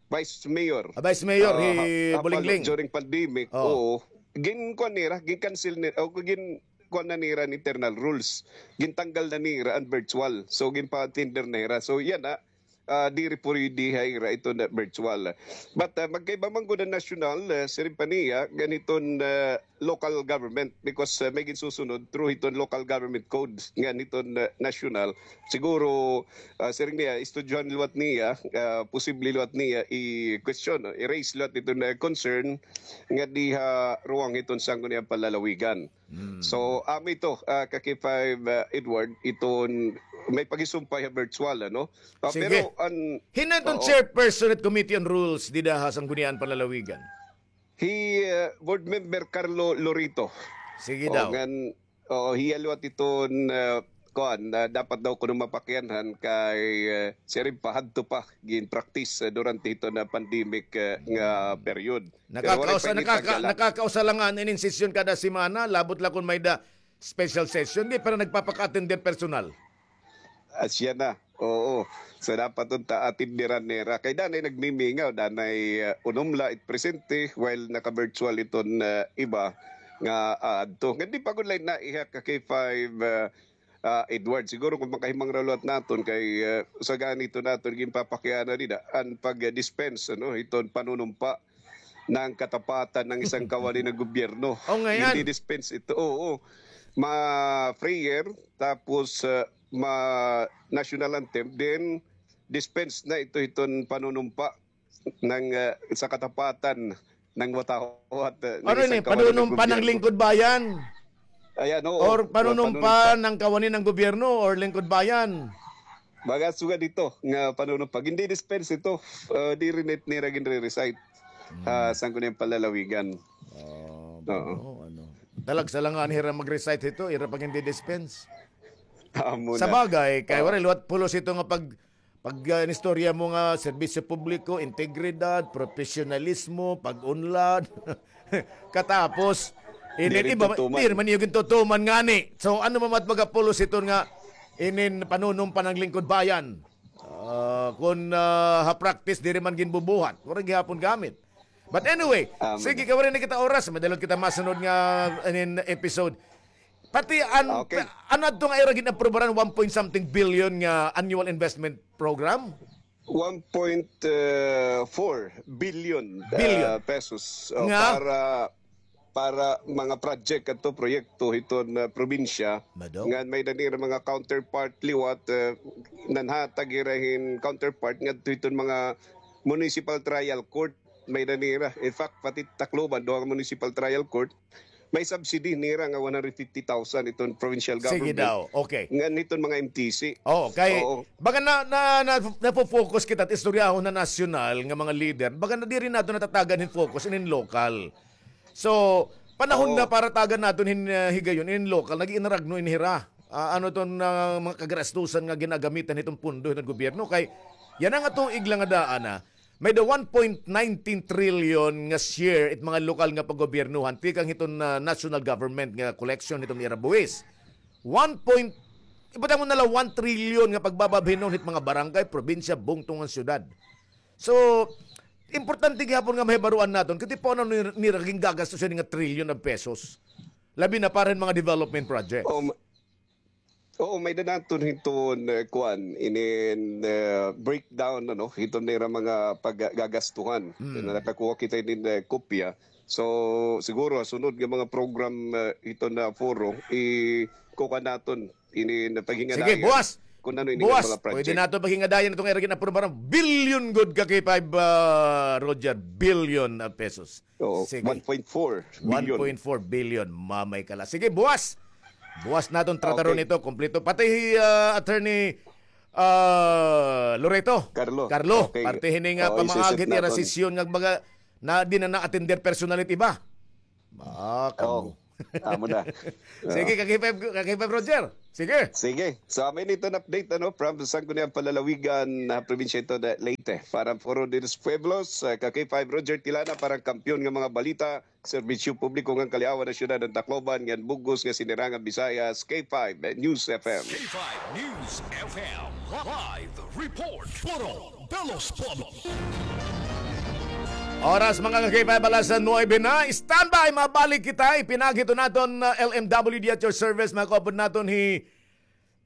Vice mayor. Ah, vice mayor, ah, hi ha, ha Palo, Bulingling. During pandemic, oo. Ginkuan nira, gin-cancel ni-, o, gin-, kuan na nira an internal rules. Gintanggal na nira an virtual. So, ginpa-tender na nira. So, yana, ah, diri pwede ha ira ito na virtual. But, ah, magkaiba man gud an national, ah, siring pa niya, ngan hiton, ah, local government because, ah, may ginsusunod through hiton local government code ngan hiton, ah, national. Siguro, ah, siring niya, istudyohan liwat niya, ah, posible liwat niya i-question, no? I-raise liwat hiton, ah, concern nga diha ruwang hiton Sangguniang Panlalawigan. Mm. So, amo ito, ah, ka K five, ah, Edward, iton may paghisumpay ha virtual, ano? Ah, sige. Pero an, hin-o iton chairperson hit Committee on Rules dida ha Sangguniang Panlalawigan? Hi, ah, Board Member Carlo Lorito. Sige daw. Ngan, oo, hiya liwat iton, ah, kuan, ah, dapat daw kuno mapakianhan kay, ah, siring pa hadto pa gin-practice, ah, durante hiton, ah, pandemic, ah, nga period. Pero waray pa ini pagdala. Nakakausa la ngani inin sesyon kada semana, labot la kon may-ada special session, di pa nagpapaka-attend hin personal. Asya na, oo. So, dapat unta atenderan nira. Kay danay nagmimingaw, danay, uh, unom la it presente, while naka-virtual iton, uh, iba nga, uh, adto. Nga di pa gud la ini naihak ka K five, uh, ah, Edward, siguro kon makahimangraw liwat naton kay, ah, usa gani ito naton ginpapakiana dida, an pag-dispense, ano, hiton panunumpa ng katapatan ng isang kawani ng gobyerno. O, ngay-an. Gin-dispense ito, oo. Ma-prayer, tapos, ah, ma-national anthem, then dispense na ito hiton panunumpa ng, ah, sa katapatan ng watawat, ah, ng isang kawani ng gobyerno. Ano ini? Panunumpa ng lingkod bayan? Ayan, oo. Or panunumpa ng kawani ng gobyerno or lingkod bayan? Mga sugad ito nga panunumpa. Gin-dispense ito. Ah, diri nira ginre-recite ha Sangguniang Panlalawigan. Oo. Talagsa la ngani hira mag-recite hito, ira pa gin-dispense. Amo na. Sa bagay, kay waray liwat pulos ito nga pag Pag, ah, inistorya mo nga serbisyo publiko, integridad, profesionalismo, pag-unlad. Katapos, inin iba, diri man niyo gintutuman ngani. So, ano man mat magapulos iton nga inin panunumpa ng lingkod bayan? Ah, kon, ah, ha practice, diri man ginbubuhat. Waray gihapon gamit. But anyway, sige, kay waray na kita oras, may-ada liwat kita masunod nga inin episode. Pati an, ano adto nga ira gin-aprubaran, one point something billion nga annual investment program? One point four billion, ah, pesos, oh, para, para mga project adto, proyekto hiton, ah, probinsya. Ngan may-ada nira mga counterpart liwat, ah, nanhatag hira hin counterpart ngadto hiton mga municipal trial court. May-ada nira. In fact, pati Tacloban, duha ka municipal trial court, may subsidy nira nga one hundred fifty thousand iton provincial government. Sige daw. Okay. Ngan hiton mga M T C. Oo, kay baga na, na, na, nafo-focus kita ha istoryahon na nasyonal nga mga leader. Baga na diri naton natatagan hin focus inin lokal. So, panahon na para tagan naton hin, ah, higayon inin lokal, nag-iinaragno ini hira. Ah, ano iton, ah, mga kagarastusan nga ginagamitan hiton pondo hiton gobyerno kay yana nga tuig la nga daan na, may-ada one point nineteen trillion nga share it mga lokal nga paggobyernohan tikang hiton, ah, national government nga collection hiton ira buhis. One point, ibutang mo na la one trillion nga pagbababhinon hit mga barangay, probinsya, bungto ngan syudad. So, importante gihapon nga mahibaroan naton kay ti paano nir-, nira gingagastusan nga trillion of pesos. Labi na para hin mga development projects. Oo, may-ada naton hiton, eh, kuan, inin, eh, breakdown, ano, hiton nira mga paggagastuhan. Nakakuha kita inin, eh, kopya. So, siguro, sunod nga mga program, eh, hiton nga foro, ikukuan naton inin paghingadayan. Sige, buwas. Kon ano inin mga project. Pwede naton paghingadayan iton ira gin-aprubaran. Billion gud ka K five, ah, Roger. Billion of pesos. Oo, sige. One point four billion. One point four billion, mamay ka la. Sige, buwas. Buwas naton trataron ito, kompleto. Pati, ah, Attorney, ah, Loreto. Carlo. Carlo, okay, parte hini nga pamaagi hit ira sesyon nga baga na di na na-attender personally it iba. Ah, kamo. Amo na. Sige, ka-K five, ka-K five Roger. Sige. Sige. So, amo ini iton update, ano, from Sangguniang Panlalawigan, ah, probinsya ito na Leyte. Para Foro de los Pueblos, ah, ka-K five Roger Tilana para kampiyon nga mga balita, serbisyo publiko ngan kaliawan han syudad han Tacloban ngan bug-os nga sinirangan Bisayas, K five News F M. K five News F M live report. Foro de los Pueblos. Oras, mga ka-K five, alas nuebe na. Standby, mabalik kita. Ipinaagi hiton aton, uh, L M W D at your service. Mga kaupod naton hi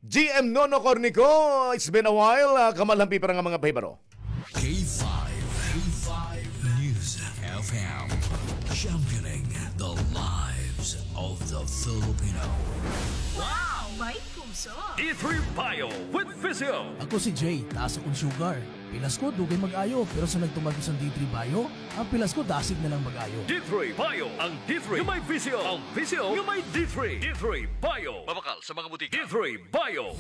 G M Nono Cornico. It's been a while. Uh, kamalhampi para nga mga pahibaro. K five, K five News F M, championing the lives of the Filipino. Wow! May puso! D three Bio with Visio. Ako si Jay, taas akon sugar. Pilas ko, dugay mag-ayo, pero sa nagtuman ko sa D three Bio, ang pilas ko dasig na lang mag-ayo. D three Bio, ang D three nga may Visio, ang Visio nga may D three. D three Bio. Mabakal sa mga butika. D three Bio.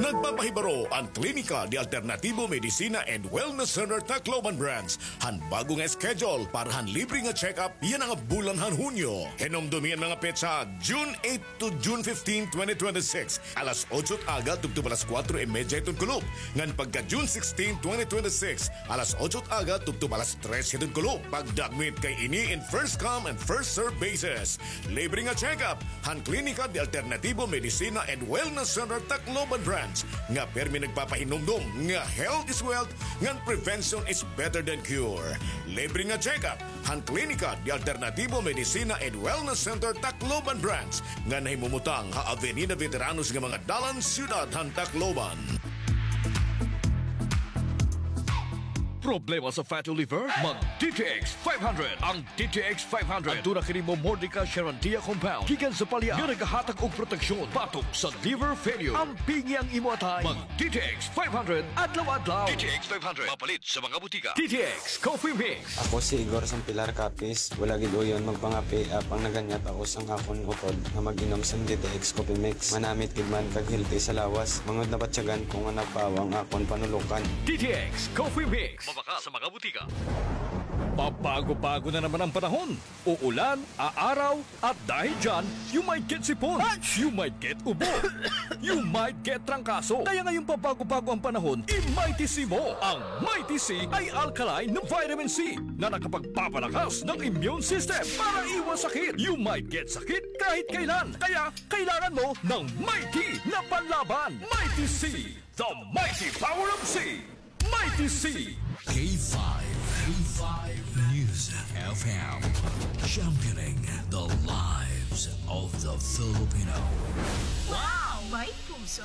Nagpapahibaro an Klinika de Alternativo Medicina and Wellness Center Tacloban Branch han bag-o nga schedule para han libre nga check-up yana nga bulan han Hunyo. Hinumdomi an mga petsa, June eight to June fifteen, twenty twenty-six, alas otso it aga tubtob alas kuwatro y medya hiton kulop. Ngan pagka June sixteen, twenty twenty-six, alas otso it aga tubtob alas tres hiton kulop. Pagdagmit kay ini in first come and first serve basis. Libre nga check-up han Klinika de Alternativo Medicina and Wellness Center Tacloban Branch, nga pirmi nagpapahinumdom nga health is wealth ngan prevention is better than cure. Libre nga check-up han Klinika de Alternativo Medicina and Wellness Center Tacloban Branch, nga nahimumutang ha Avenida Veteranos nga mga dalan, siyudad han Tacloban. Problema sa fatty liver? Mag D T X five hundred. Ang D T X five hundred. Aduna kini Momordica charantia compound gikan sa palya nga nagahatag og proteksyon batok sa liver failure. Ampingi ang imo atay. Mag D T X five hundred adlaw-adlaw. D T X five hundred. Mapalit sa mga butika. D T X Coffee Mix. Ako si Igor Sampilar Capiz. Wala gid uyon magpangape, apang naganyat ako sang akon utod nga mag-inom sang D T X Coffee Mix. Manamit gid man kag healthy sa lawas. Mangud na batyagan ko nga nagpawa ang akon panulokan. D T X Coffee Mix. Mabakal sa mga butika. Pabago-bago na naman ang panahon. Uulan, aaraw, at dahil dyan, you might get sipon, you might get ubo, you might get trangkaso. Kaya ngayong pabago-bago ang panahon, i-Mighty C mo. Ang Mighty C ay alkaline na vitamin C na nakapagpapalakas ng immune system para iwas sakit. You might get sakit kahit kailan. Kaya kailangan mo ng Mighty na panlaban. Mighty C, the mighty power of C. Mighty C. K five, K five News F M, championing the lives of the Filipino. Wow! May puso!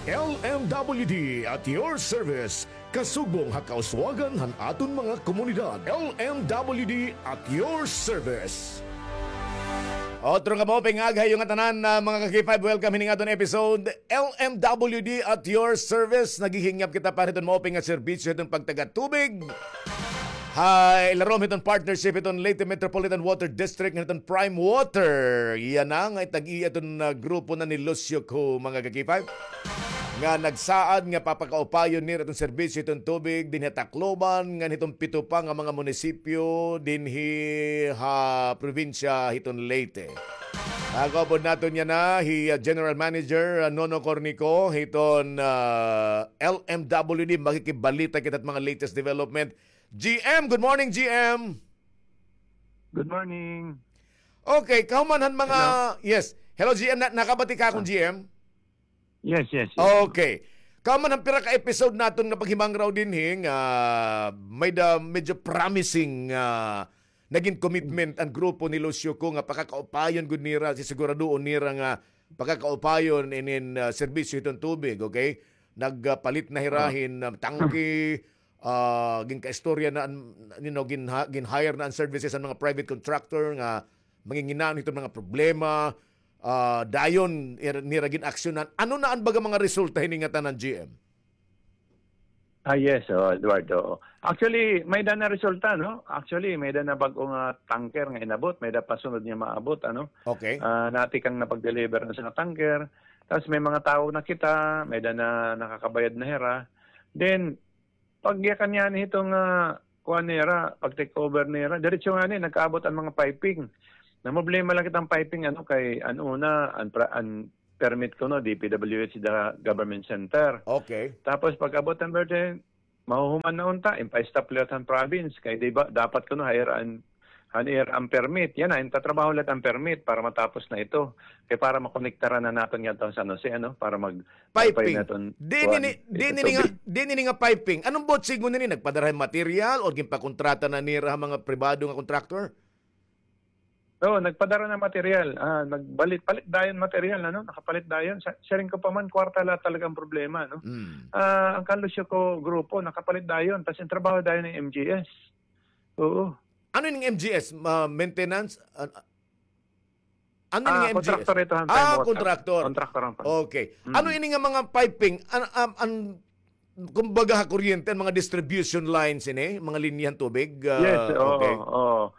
L M W D at your service. Kasugbong ha kauswagan han aton mga komunidad. L M W D at your service. Otro nga maupay nga aga ha iyo ngatanan, ah, mga ka-K five, welcome hini nga aton episode. L M W D at your service. Naghihingyap kita para hiton maupay nga serbisyo hiton pagtagatubig. Ha ilarom hiton partnership hiton Leyte Metropolitan Water District, hiton Prime Water. Yana nga itag-iya hiton, ah, grupo na ni Lucio Co, mga ka-K five, nga nagsaad nga papakaupayon nira hiton serbisyo hiton tubig dinhi ha Tacloban ngan hiton pito pa nga mga munisipyo dinhi ha probinsya hiton Leyte. Nakaupod naton yana hi, ah, General Manager, ah, Nono Cornico hiton, ah, L M W D. Makikibalita kita hit mga latest development. G M, good morning, G M. Good morning. Okay, kahuman han mga, yes. Hello, G M. Na, nakabati ka akon, G M? Yes, yes, yes. Okay. Kahuman han pira ka episode naton nga paghimangraw dinhi nga may-da medyo promising nga nagin commitment an grupo ni Lucio Co nga pakakaupayon gud nira, sisiguraduon nira nga pakakaupayon inin, ah, serbisyo hiton tubig, okay? Nagpalit na hira hin, ah, tangke, ah, ginkaistorya na an, you know, ginha-, gin-hire na an services han mga private contractor nga manginginano hiton mga problema, ah, dayon ir-, nira gin-aksyonan. Ano na an baga mga resulta hini nga tanan, G M? Ah, yes, oh, Eduardo. Actually, may-da na resulta, no? Actually, may-da na bag-o nga tanker nga inabot, may-da pa sunod nga maabot, ano? Okay. Ah, natikang na pag-deliver na sa tanker. Tas may mga tawo na kita, may-ada na nakakabayad na hira. Then, pagyakan niya ni hito nga kuan nira, pag-take over nira, diretso ngani, nagkaabot an mga piping. Namroblema la kita han piping, ano, kay an una, an pra-, an permit kuno, D P W H, the government center. Okay. Tapos pag-abot han birthday, mahuhuman na unta, impa-stop liwat han province. Kay di ba, dapat kuno, hire an, han ira an permit. Yana, intatrabaho liwat an permit para matapos na ito. Kay para makonektaran na naton ngadto han San Jose, ano, para mag-, Piping. Naton, diin kuan, ini, diin ito, ini nga, tubig. Diin ini nga piping? Ano ba it siring nini? Nagpadara hin material or ginpakontrata na nira han mga pribado nga contractor? Oo, nagpadara na material. Ah, nagpalit-palit dayon material, ano? Nakapalit dayon. Sa, siring ko pa man, kwarta la talaga an problema, no? Mm. Ah, an kan Lucio Co grupo, nakapalit dayon. Tas intrabaho dayon han M G S. Oo. Ano ini nga M G S? Ma-, maintenance? An-, ano ini nga M G S? Ah, contractor ito, han prime water. Ah, contractor. Contractor an prime. Okay. Mm. Ano ini nga mga piping? An-, an-, an-, kumbaga ha kuryente, an mga distribution lines ini, mga linya han tubig? Ah, yes, oo, okay. Oo.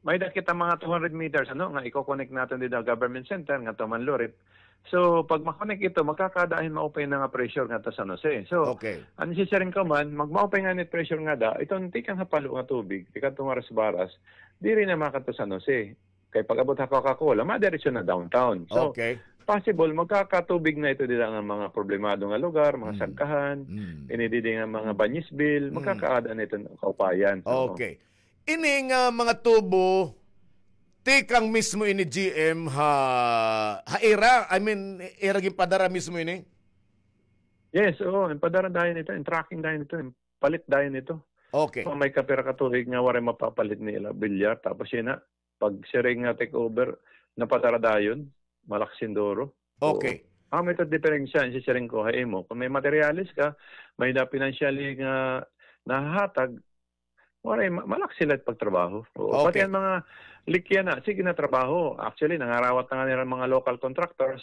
May-ada kita mga two hundred meters, ano, nga iko-connect naton dida ha government center, ngadto ha Manlurip. So, pag ma-connect ito, magkakaada hin maupay na nga pressure ngadto ha San Jose. So, okay, an isisiring ko man, magmaupay ngani it pressure ngada, iton tikang ha Palo nga tubig, tikadto nga Rasbaras, diri na makadto ha San Jose. Kay pag-abot ha Coca-Cola, madiretso na downtown. So, okay, possible, magkakatubig na ito dida nga mga problemado nga lugar, mga Sagkahan, ini didi nga mga Banyisville, magkakaada na ito kaupayan. Oo. Okay. Ini nga mga tubo, tikang mismo ini, G M, ha, ha ira? I mean, ira ginpadara mismo ini? Yes, oo. Inpadara dayon ito, in-trucking dayon ito, inpalit dayon ito. Okay. So, may kapira ka tuig nga waray mapapalit nira, bilyar. Tapos yana, pag siring nga take over, napadara dayon, malaksi hin duro. Oo. Okay. Amo ito diferensya, isisiring ko ha imo. Kon may materyales ka, may-ada financially nga nahahatag, waray, ma-, malaksi la it pagtrabaho. Oo. Okay. Pati an mga leak yana, sige na trabaho. Actually, nangarawat na ngani hira mga local contractors.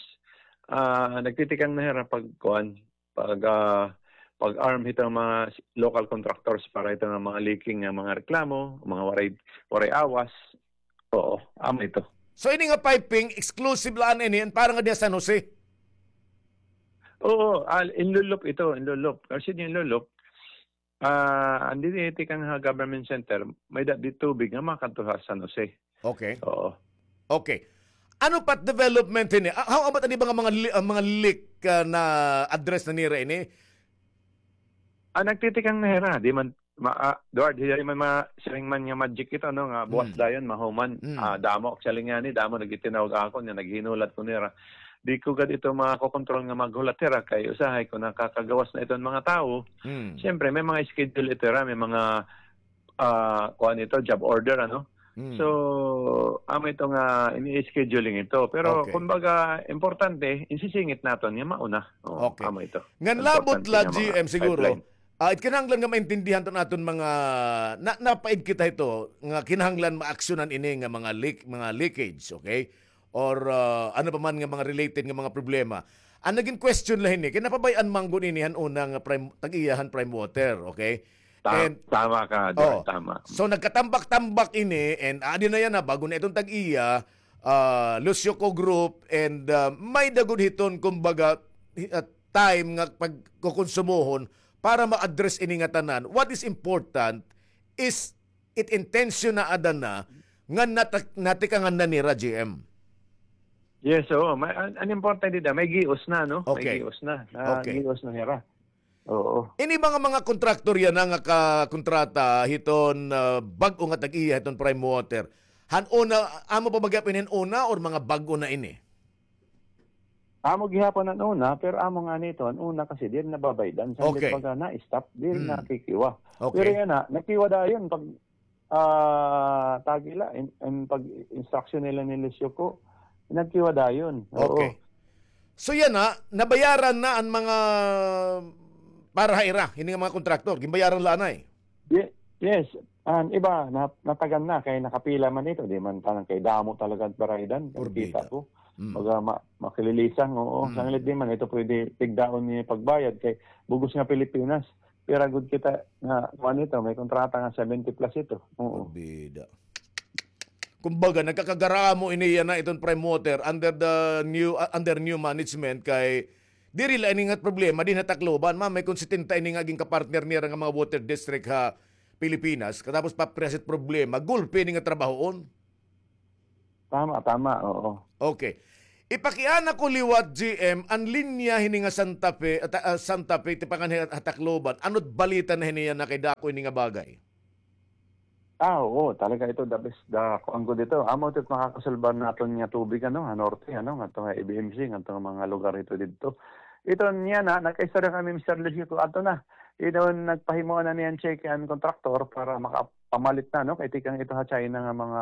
Ah, nagtitikang na hira pag, kuan, pag, ah, pag-arm hito mga local contractors para hito nga mga leaking nga mga reklamo, mga waray, waray awas. Oo, amo ito. So, ini nga piping, exclusive la ini, para ngada ha San Jose? Oo, ah, inlulop ito, inlulop. Kasi inlulop, ah, an didi tikang ha government center, may-ada didi tubig nga makadto ha San Jose. Okay. Oo. Okay. Ano pa it development ini? Ah, how about an iba nga mga li-, ah, mga leak, ah, na-address na nira ini? Ah, nagtitikang na hira, di man, ma-, ah, Edward, diri man ma-, siring man nga magic ito, no, nga buwas dayon, mahuman. Mm. Ah, damo, actually ngani, damo nagtitinawag ha akon, nga naghinulat ko nira. Di ko gad ito makokontrol nga maghulat hira, kay usahay kon nakakagawas na iton mga tawo. Mm. Siyempre, may mga schedule ito hira, may mga, ah, kuan ito, job order, ano? Mm. So, amo ito nga ini-scheduling ito. Pero, okay, kumbaga, importante, insisingit naton nga mauna. Oo, okay, amo ito. Ngan labot la, G M, siguro, ah, it kinahanglan nga maintindihan ta an aton mga, na, napaid kita hito, nga kinahanglan maaksyonan ini nga mga leak, mga leakage, okay? Or, ah, ano pa man nga mga related nga mga problema. An nagin question la hini, kay napabay-an man gud ini han una nga prime, tag-iya han prime water, okay? Ta-, and, tama ka, Edward, oh, tama. So, nagkatambak-tambak ini, and adi na yana, bag-o na iton tag-iya, ah, Lucio Co Group, and, ah, may-ada gud hiton, kumbaga, hi-, ah, time nga pagkukonsumohon para ma-address ini nga tanan. What is important is it intention na ada na nga nata-, natikangan na nira, G M. Yes, oo. May, an, an importante dida, may gios na, no? Okay. May gios na. Ah, okay, gios na hira. Oo. Ini mga, mga kontraktor yana nga kakontrata hiton, ah, bag-o nga tag-iya hiton Prime Water. Han una, amo pa ba gihapon hin una or mga bag-o na ini? Amo gihapon an una, pero amo ngani ito, an una kasi diri nababaydan. Sanglit, okay, baga na-stop, diri, hmm, nakikiwa. Okay. Pero yana, nakiwa dayon pag, ah, tagi la, in, in pag-instruction nila ni Lucio Co, nagkiwa dayon. Oo. Okay. So yana, nabayaran na an mga para ha ira, hini nga mga kontraktor, ginbayaran la anay? Ye-, yes. An iba, na-, natagan na, kay nakapila man ito, di man tanan kay damo talaga an baraydan, kita ko. Porbida. Mm. Baga ma-, makililisang, oo. Mm. Sanglit di man ito pwede tigdaon niya pagbayad, kay bug-os nga Pilipinas. Pira gud kita nga, kuan ito, may kontrata nga seventy plus ito. Oo. Porbida. kumbaga, nagkakagaramo ini yana iton Prime Water under the new, ah, under new management kay diri la ini nga problema dinhi ha Tacloban, ma, may kon setenta ini nga ginkapartner nira nga mga water district ha Pilipinas, katapos papreset problema, gulpi ini nga trabahoon. Tama, tama, oo. Okay. Ipakiana ko liwat, G M, an linya hini nga Santa Fe, ah, ta-, ah, Santa Fe, tipangan ha, ha Tacloban. Ano't balita na hini yana kay dako ini nga bagay? Ah, oo, talaga ito the best, the kuan gud ito. Amo ito makakasulbar naton nga tubig, ano, ha norte, ano, ngadto nga A B M C, ngadto nga mga lugar ito didto. Ito niya na, nagkaistorya kami, Mister Lucio, ko ato na. Ito nagpahimuan na niyan check an kontraktor para makapamalit na, no? Kay tikang ito ha China nga mga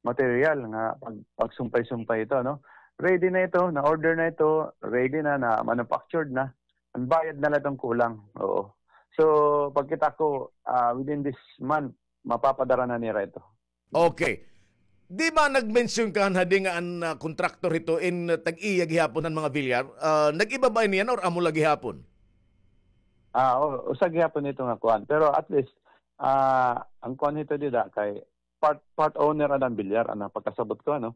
material nga pag, pagsumpay-sumpay ito, no? Ready na ito, na-order na ito, ready na, na-manufactured na. An bayad na la iton kulang. Oo. So, pagkita ko, ah, within this month, mapapadara na nira ito. Okay. Di ba nag-mention ka hadi nga an, ah, kontraktor hito in, ah, tag-iya gihapon han mga bilyar? Ah, nag-iba ba ini yana or amo la gihapon? Ah, o, usa gihapon ito nga kuan. Pero at least, ah, an kuan hito dida kay part, part owner an bilyar, an pagkasabot ko, ano.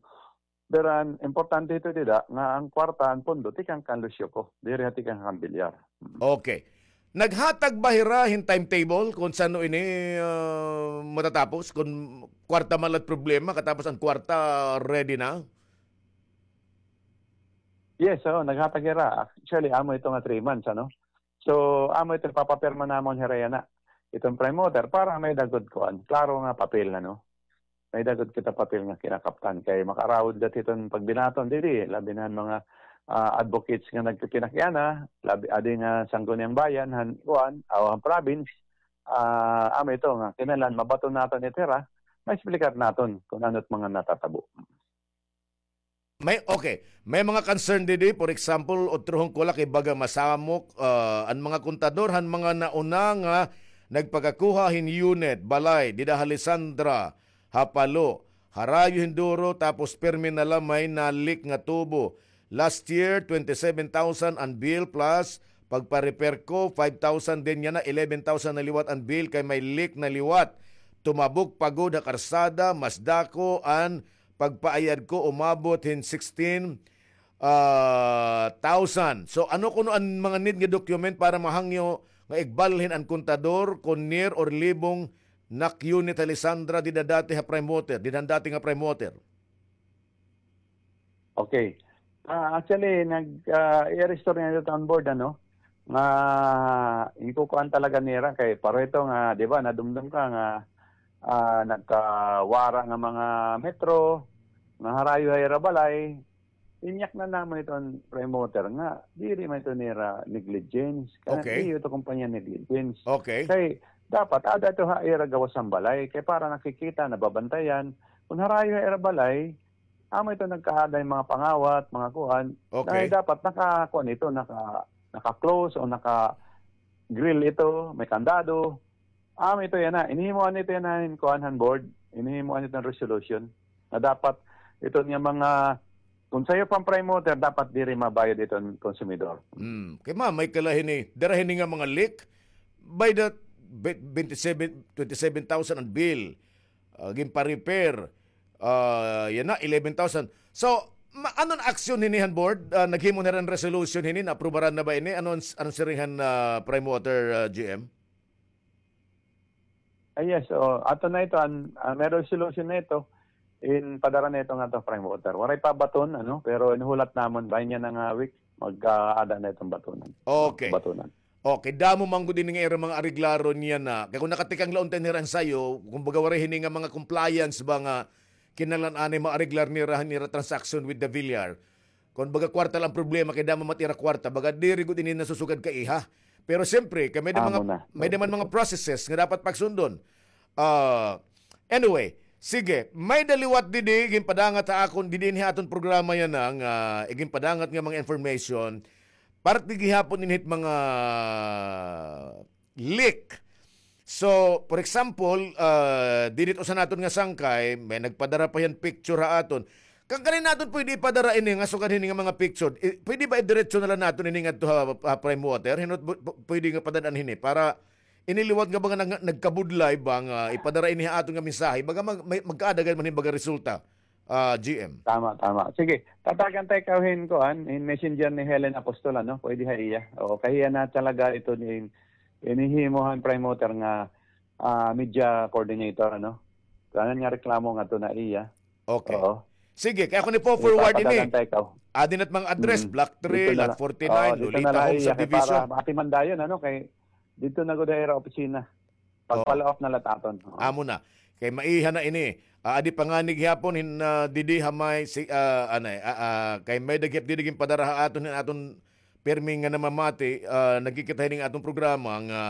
Pero an importante hito dida nga an kwarta, an pondo, tikang kan Lucio ko. Diri ha tikang kan bilyar. Mm. Okay. Naghatag ba hira hin timetable kon san-o ini, ah, matatapos? Kon kwarta man la it problema, katapos an kwarta ready na? Yes, oo, naghatag hira. Actually, amo ito nga three months, ano? So, amo ito, papapirma namon hira yana. Iton Prime Water, para may-ada gud kuan. Klaro nga papel, ano? May-ada gud kita papel nga kinakaptan kay makaarawod gad hiton pagbinaton didi, labi na an mga, ah, advocates nga nagpipinakiana, labi adi nga Sangguniang Bayan han kuan, aw han province, ah, amo ito nga kinahanglan mabaton naton ito hira, maexplicar naton kon ano it mga natatabo. May, okay. May mga concern didi, for example, utrohon ko la kay baga masamok, ah, an mga kontador han mga nauna nga nagpakakuha hin unit, balay, dida ha Lisandra, ha Palo, harayo hin duro, tapos pirmi na la may na-leak nga tubo. Last year, twenty-seven thousand an bill plus pagpa-repair ko, five thousand din yana, eleven thousand na liwat an bill kay may leak na liwat. Tumabok pa gud ha karsada, mas dako an pagpaayad ko umabot hin sixteen, ah, thousand. So, ano kuno an mga need nga document para mahangyo nga igbalhin an kontador kon near or libong nak unit ha Lisandra dida dati ha Prime Water, dida dati nga Prime Water? Okay. Ah, actually, nag, ah, i-restore niya ito on board, ano? Nga, inkukuan talaga nira kay pareho ito nga, di ba, nadumdom ka nga, ah, nagkawara nga mga metro, nga harayo ha ira balay, inyak na namon iton Prime Water nga, diri man ito nira negligence. Kana, okay, iyo ito kumpanya negligence. Okay. Kay, dapat, ada ito ha ira gawas han balay. Kay para nakikita, nababantayan. Kung harayo ha ira balay, amo ito nagkaada hin mga pangawat, mga kuan. Okay. Dahil dapat naka, kuan ito, naka, naka-close o naka-grill ito, may kandado. Amo ito yana. Inhimuan ito yana hin kuan han board. Inhimuan ito hin resolution. Na dapat ito nga mga, kung sayo pa an Prime Water, dapat diri mabayad ito an konsumidor. Hmm. Kay ma, may kala hini, dara hini nga mga leak, by the be-, twenty-seven, twenty-seven thousand an bill. Ah, ginpa-repair. Ah, yana, eleven thousand. So, ma-, ano an aksyon hini han board? Ah, naghimo na hin resolution hini, naaprubaran na ba ini? Ano an, ano siring han, ah, Prime Water, ah, G M? Ah, yes, oo. Ato na ito, an, ah, may resolution na ito. In padara na ito ngadto Prime Water. Waray pa baton, ano, pero inhulat namon, bahin yana nga week, mag-aada na iton batunan. Okay. Batunan. Okay, damo man gud ini nga ira mga areglaron yana. Kay kon nakatikang la unta nira an sayo, kumbaga waray hini nga mga compliance ba nga kinahanglan anay maareglar nira han ira transaction with the Villar. Kon baga kwarta la an problema, kay damo man it ira kwarta, baga diri gud ini nasusugad kaiha. Pero siyempre, kay may da mga, may da man mga processes nga dapat pagsundon. Ah, anyway, sige, may da liwat didi, ginpadangat ha akon, didi ini ha aton programa yana nga, ah, iginpadangat nga mga information, parte gihapon ini hit mga leak. So, for example, ah, didi it usa naton nga sangkay, may nagpadara pa hiya hin picture ha aton. Kan kanin naton pwede ipadara ini nga sugad hini nga mga picture. I-, pwede ba idiretso na la naton ini ngadto ha, ha Prime Water? Hinaot bu-, bu-, pwede nga padad-an hini para ini liwat nga baga nag-, nagkabudlay ba nga ipadara ini ha aton nga mensahe, baga mag-, may, magkaada gad man hin baga resulta, ah, G M. Tama, tama. Sige, tatagan ta ikaw hin kuan, hin messenger ni Helen Apostol, ano? Pwede ha iya. Oo, kay hiya na talaga ito ni, inihimo han Prime Water nga, ah, media coordinator, ano? Kanan nga reklamo nga to na iya. Okay. Oo. Sige, kay ako ni po forward ini. Ipapadalan ta ikaw. Adi na it mga address, Mm. Block three, Lot forty-nine, Lolita Homes Subdivision. Para maatiman dayon, ano, kay dito na gud ira opisina. Pag-follow up na la aton. Oo. Amo na. Kay maiha na ini. Ah, adi pa ngani gihapon hin, ah, didi ha may si, ah, anay, ah, ah, kay may-ada gihap didi ginpadara ha aton hin aton pirmi nga namamati, ah, nagkikita hini nga aton programa nga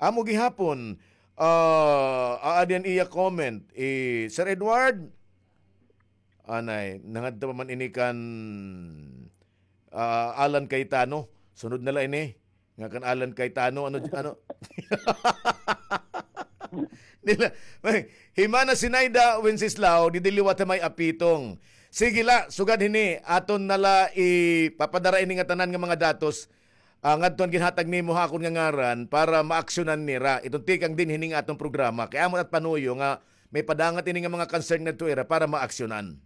amo gihapon, ah, aadi an iya comment. Eh, Sir Edward, anay, nangadto pa man ini kan, ah, Alan Cayetano. Sunod na la ini. Nga kan Alan Cayetano, ano, ano? Nila, may, himana Sinaida Wenceslao, didi liwat ha may Apitong. Sige la, sugad hini, aton na la ipapadara ini nga tanan nga mga datos, ah, ngadto han ginhatag nimo ha akon nga ngaran para maaksyonan nira. Iton tikang dinhi hini nga aton programa. Kay amo it panuyo nga may padangat ini nga mga concern ngadto ira para maaksyonan.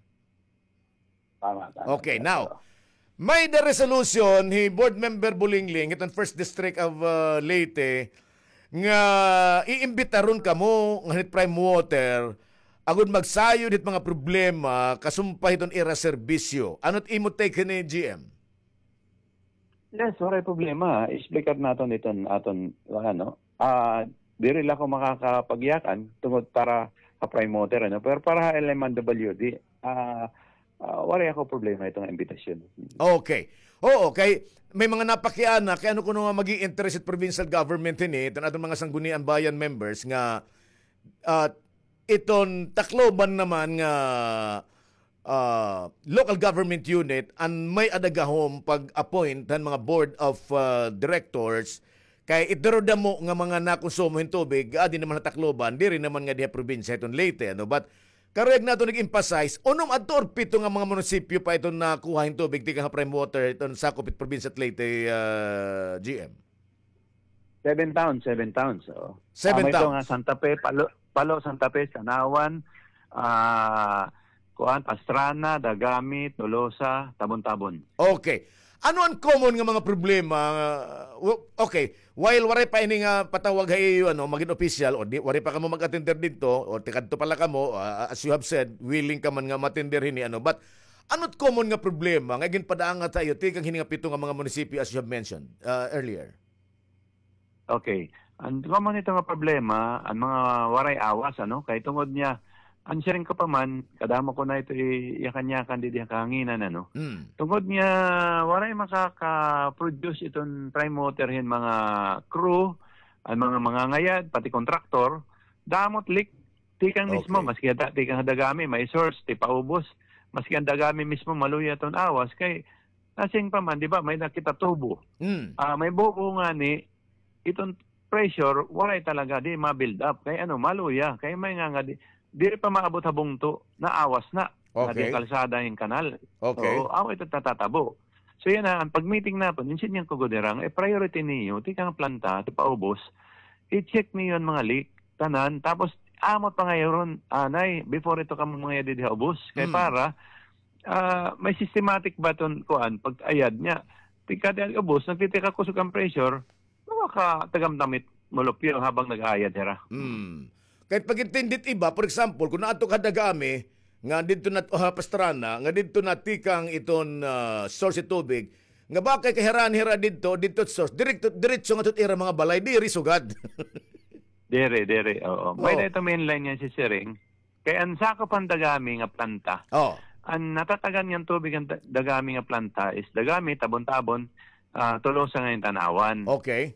Tama, tama. Okay, now, may-ada resolution hi Board Member Bulingling, iton First District of, uh, Leyte, nga iimbitaron kamo ngan hit Prime Water, agod magsayod hit mga problema, kasumpay hiton ira serbisyo. Ano it imo take hini, G M? Yes, waray problema. Explicar naton iton aton, ano, ah, diri la ako makakapagyakan tungod para ha Prime Water, ano, pero para ha L M W D, ah, ah, waray ako problema iton imbitasyon. Okay. Oo, kay may mga napakiana, kay ano kuno nga mag-i-interest it provincial government hini, iton aton mga sanggunian bayan members nga, ah, iton Tacloban naman nga, ah, local government unit an may-ada gahom pag-appoint han mga board of, ah, directors, kay it duro damo nga mga nakonsumo hin tubig, adi naman ha Tacloban, diri naman nga diha probinsya iton Leyte, ano? But karuyag naton ig-emphasize, unom adto or pito nga mga munisipyo pa iton nakuha hin tubig tikang ha Prime Water iton sakop hit probinsya hit Leyte, ah, G M? Seven towns, seven towns, oo. Seven towns. Tama ito nga, Santa Fe, Palo, Palo, Santa Fe, Tanauan, ah, kuan, Pastrana, Dagami, Tolosa, Tabon-Tabon. Okay. Ano an common nga mga problema? Uh, w-, okay, while waray pa ini nga patawag ha iyo, ano, magin opisyal, o di, waray pa kamo mag-attender didto, o tikadto pa la kamo, ah, as you have said, willing ka man nga ma-attender hini, ano, but ano it common nga problema nga ginpadangat ha iyo tikang hini nga pito nga mga munisipyo as you have mentioned, ah, earlier? Okay. An common ito nga problema, an mga waray awas, ano? Kay tungod niya, an siring ko pa man, kadamo ko na ito i-, iyakan-yakan didi ha kahanginan, ano? Mm. Tungod niya, waray makaka-produce iton Prime Water hin mga crew, an mga mangangayad, pati kontraktor, damo it leak, tikang mismo, okay, maski ada, tikang ha Dagami, may source, ti paubos, maski an Dagami mismo, maluya iton awas, kay, asing pa man, di ba, may nakita tubo. Mm. Ah, may bubo ngani, iton pressure, waray talaga, di ma-build up. Kay ano, maluya. Kay may nga nga, di, diri pa maabot ha bungto, naawas na. Okay. Nga di kalsada hin kanal. Okay. Oo, amo ito natatabo. So, yan na, an pag-meeting naton, insin niyan ko gud ira nga, i-priority niyo, tikang planta, ti paubos, i-check niyo an mga leak, tanan, tapos, amo pa ngayon, anay, before ito kamo mga didi ha ubos. Kay, mm, para, ah, may systematic ba iton, kuan, pag-ayad niya. Tikang di ubos, nagtitikakusog an pressure, makakatagamtam it mulupyo habang nag-aayad hira. Hmm. Kay pag-intindi it iba, for example, kon naadto ka ha Dagami, nga didto na, ha Pastrana, nga didto na tikang iton, ah, source it tubig, nga bakay kay hira-hira didto, didto it source, direkto, diretso ngadto it ira mga balay, diri sugad. Diri, diri, oo. Oo. May-ada ito main line nga sisiring. Kay an sakop han Dagami nga planta, oh, an natatagan ngan tubig han Da-, Dagami nga planta is Dagami, Tabon-Tabon, ah, Tolosa ngan Tanauan. Okay.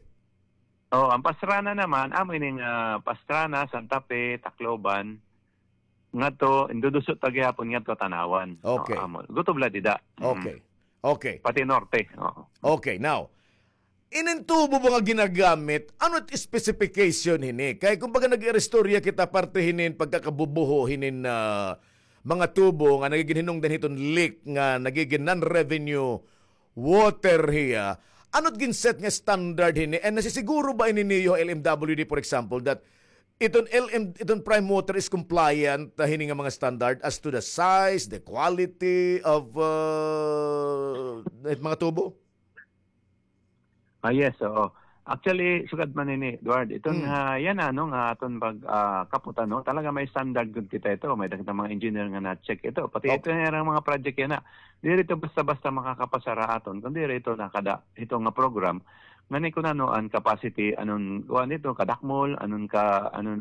Oh, an Pastrana naman, amo ini nga Pastrana, Santa Fe, Tacloban, ngadto, indudusot pa gihapon ngadto Tanauan. Okay. Oh, amo. Gutob la dida. Mm. Okay. Okay. Pati norte. Oo. Okay, now, inin tubo ba nga ginagamit, ano it specification hini? Kay kumbaga nag-iristorya kita parte hinin pagkakabubuho hinin, ah, mga tubo nga nagigin hinungdan hiton leak nga nagigin non-revenue water hiya. Ano it gin-set nga standard hini? And nasisiguro ba ini niyo ha L M W D, for example, that iton L M, iton Prime Water is compliant, ah, hini nga mga standard as to the size, the quality of, uh, mga tubo? Ah, yes, oo. Actually, sugad man ini, Edward. Iton, ah, yana, no, nga aton pag, ah, kapot, ano, talaga may standard gud kita ito. May kita mga engineer nga na-check ito. Pati ito nga mga project yana. Diri ito basta-basta makakapasar ha aton. Kundi ito na kada, ito nga program. Ngani kun ano an capacity, anon, kuan ito, kadakmol, anon ka, anon,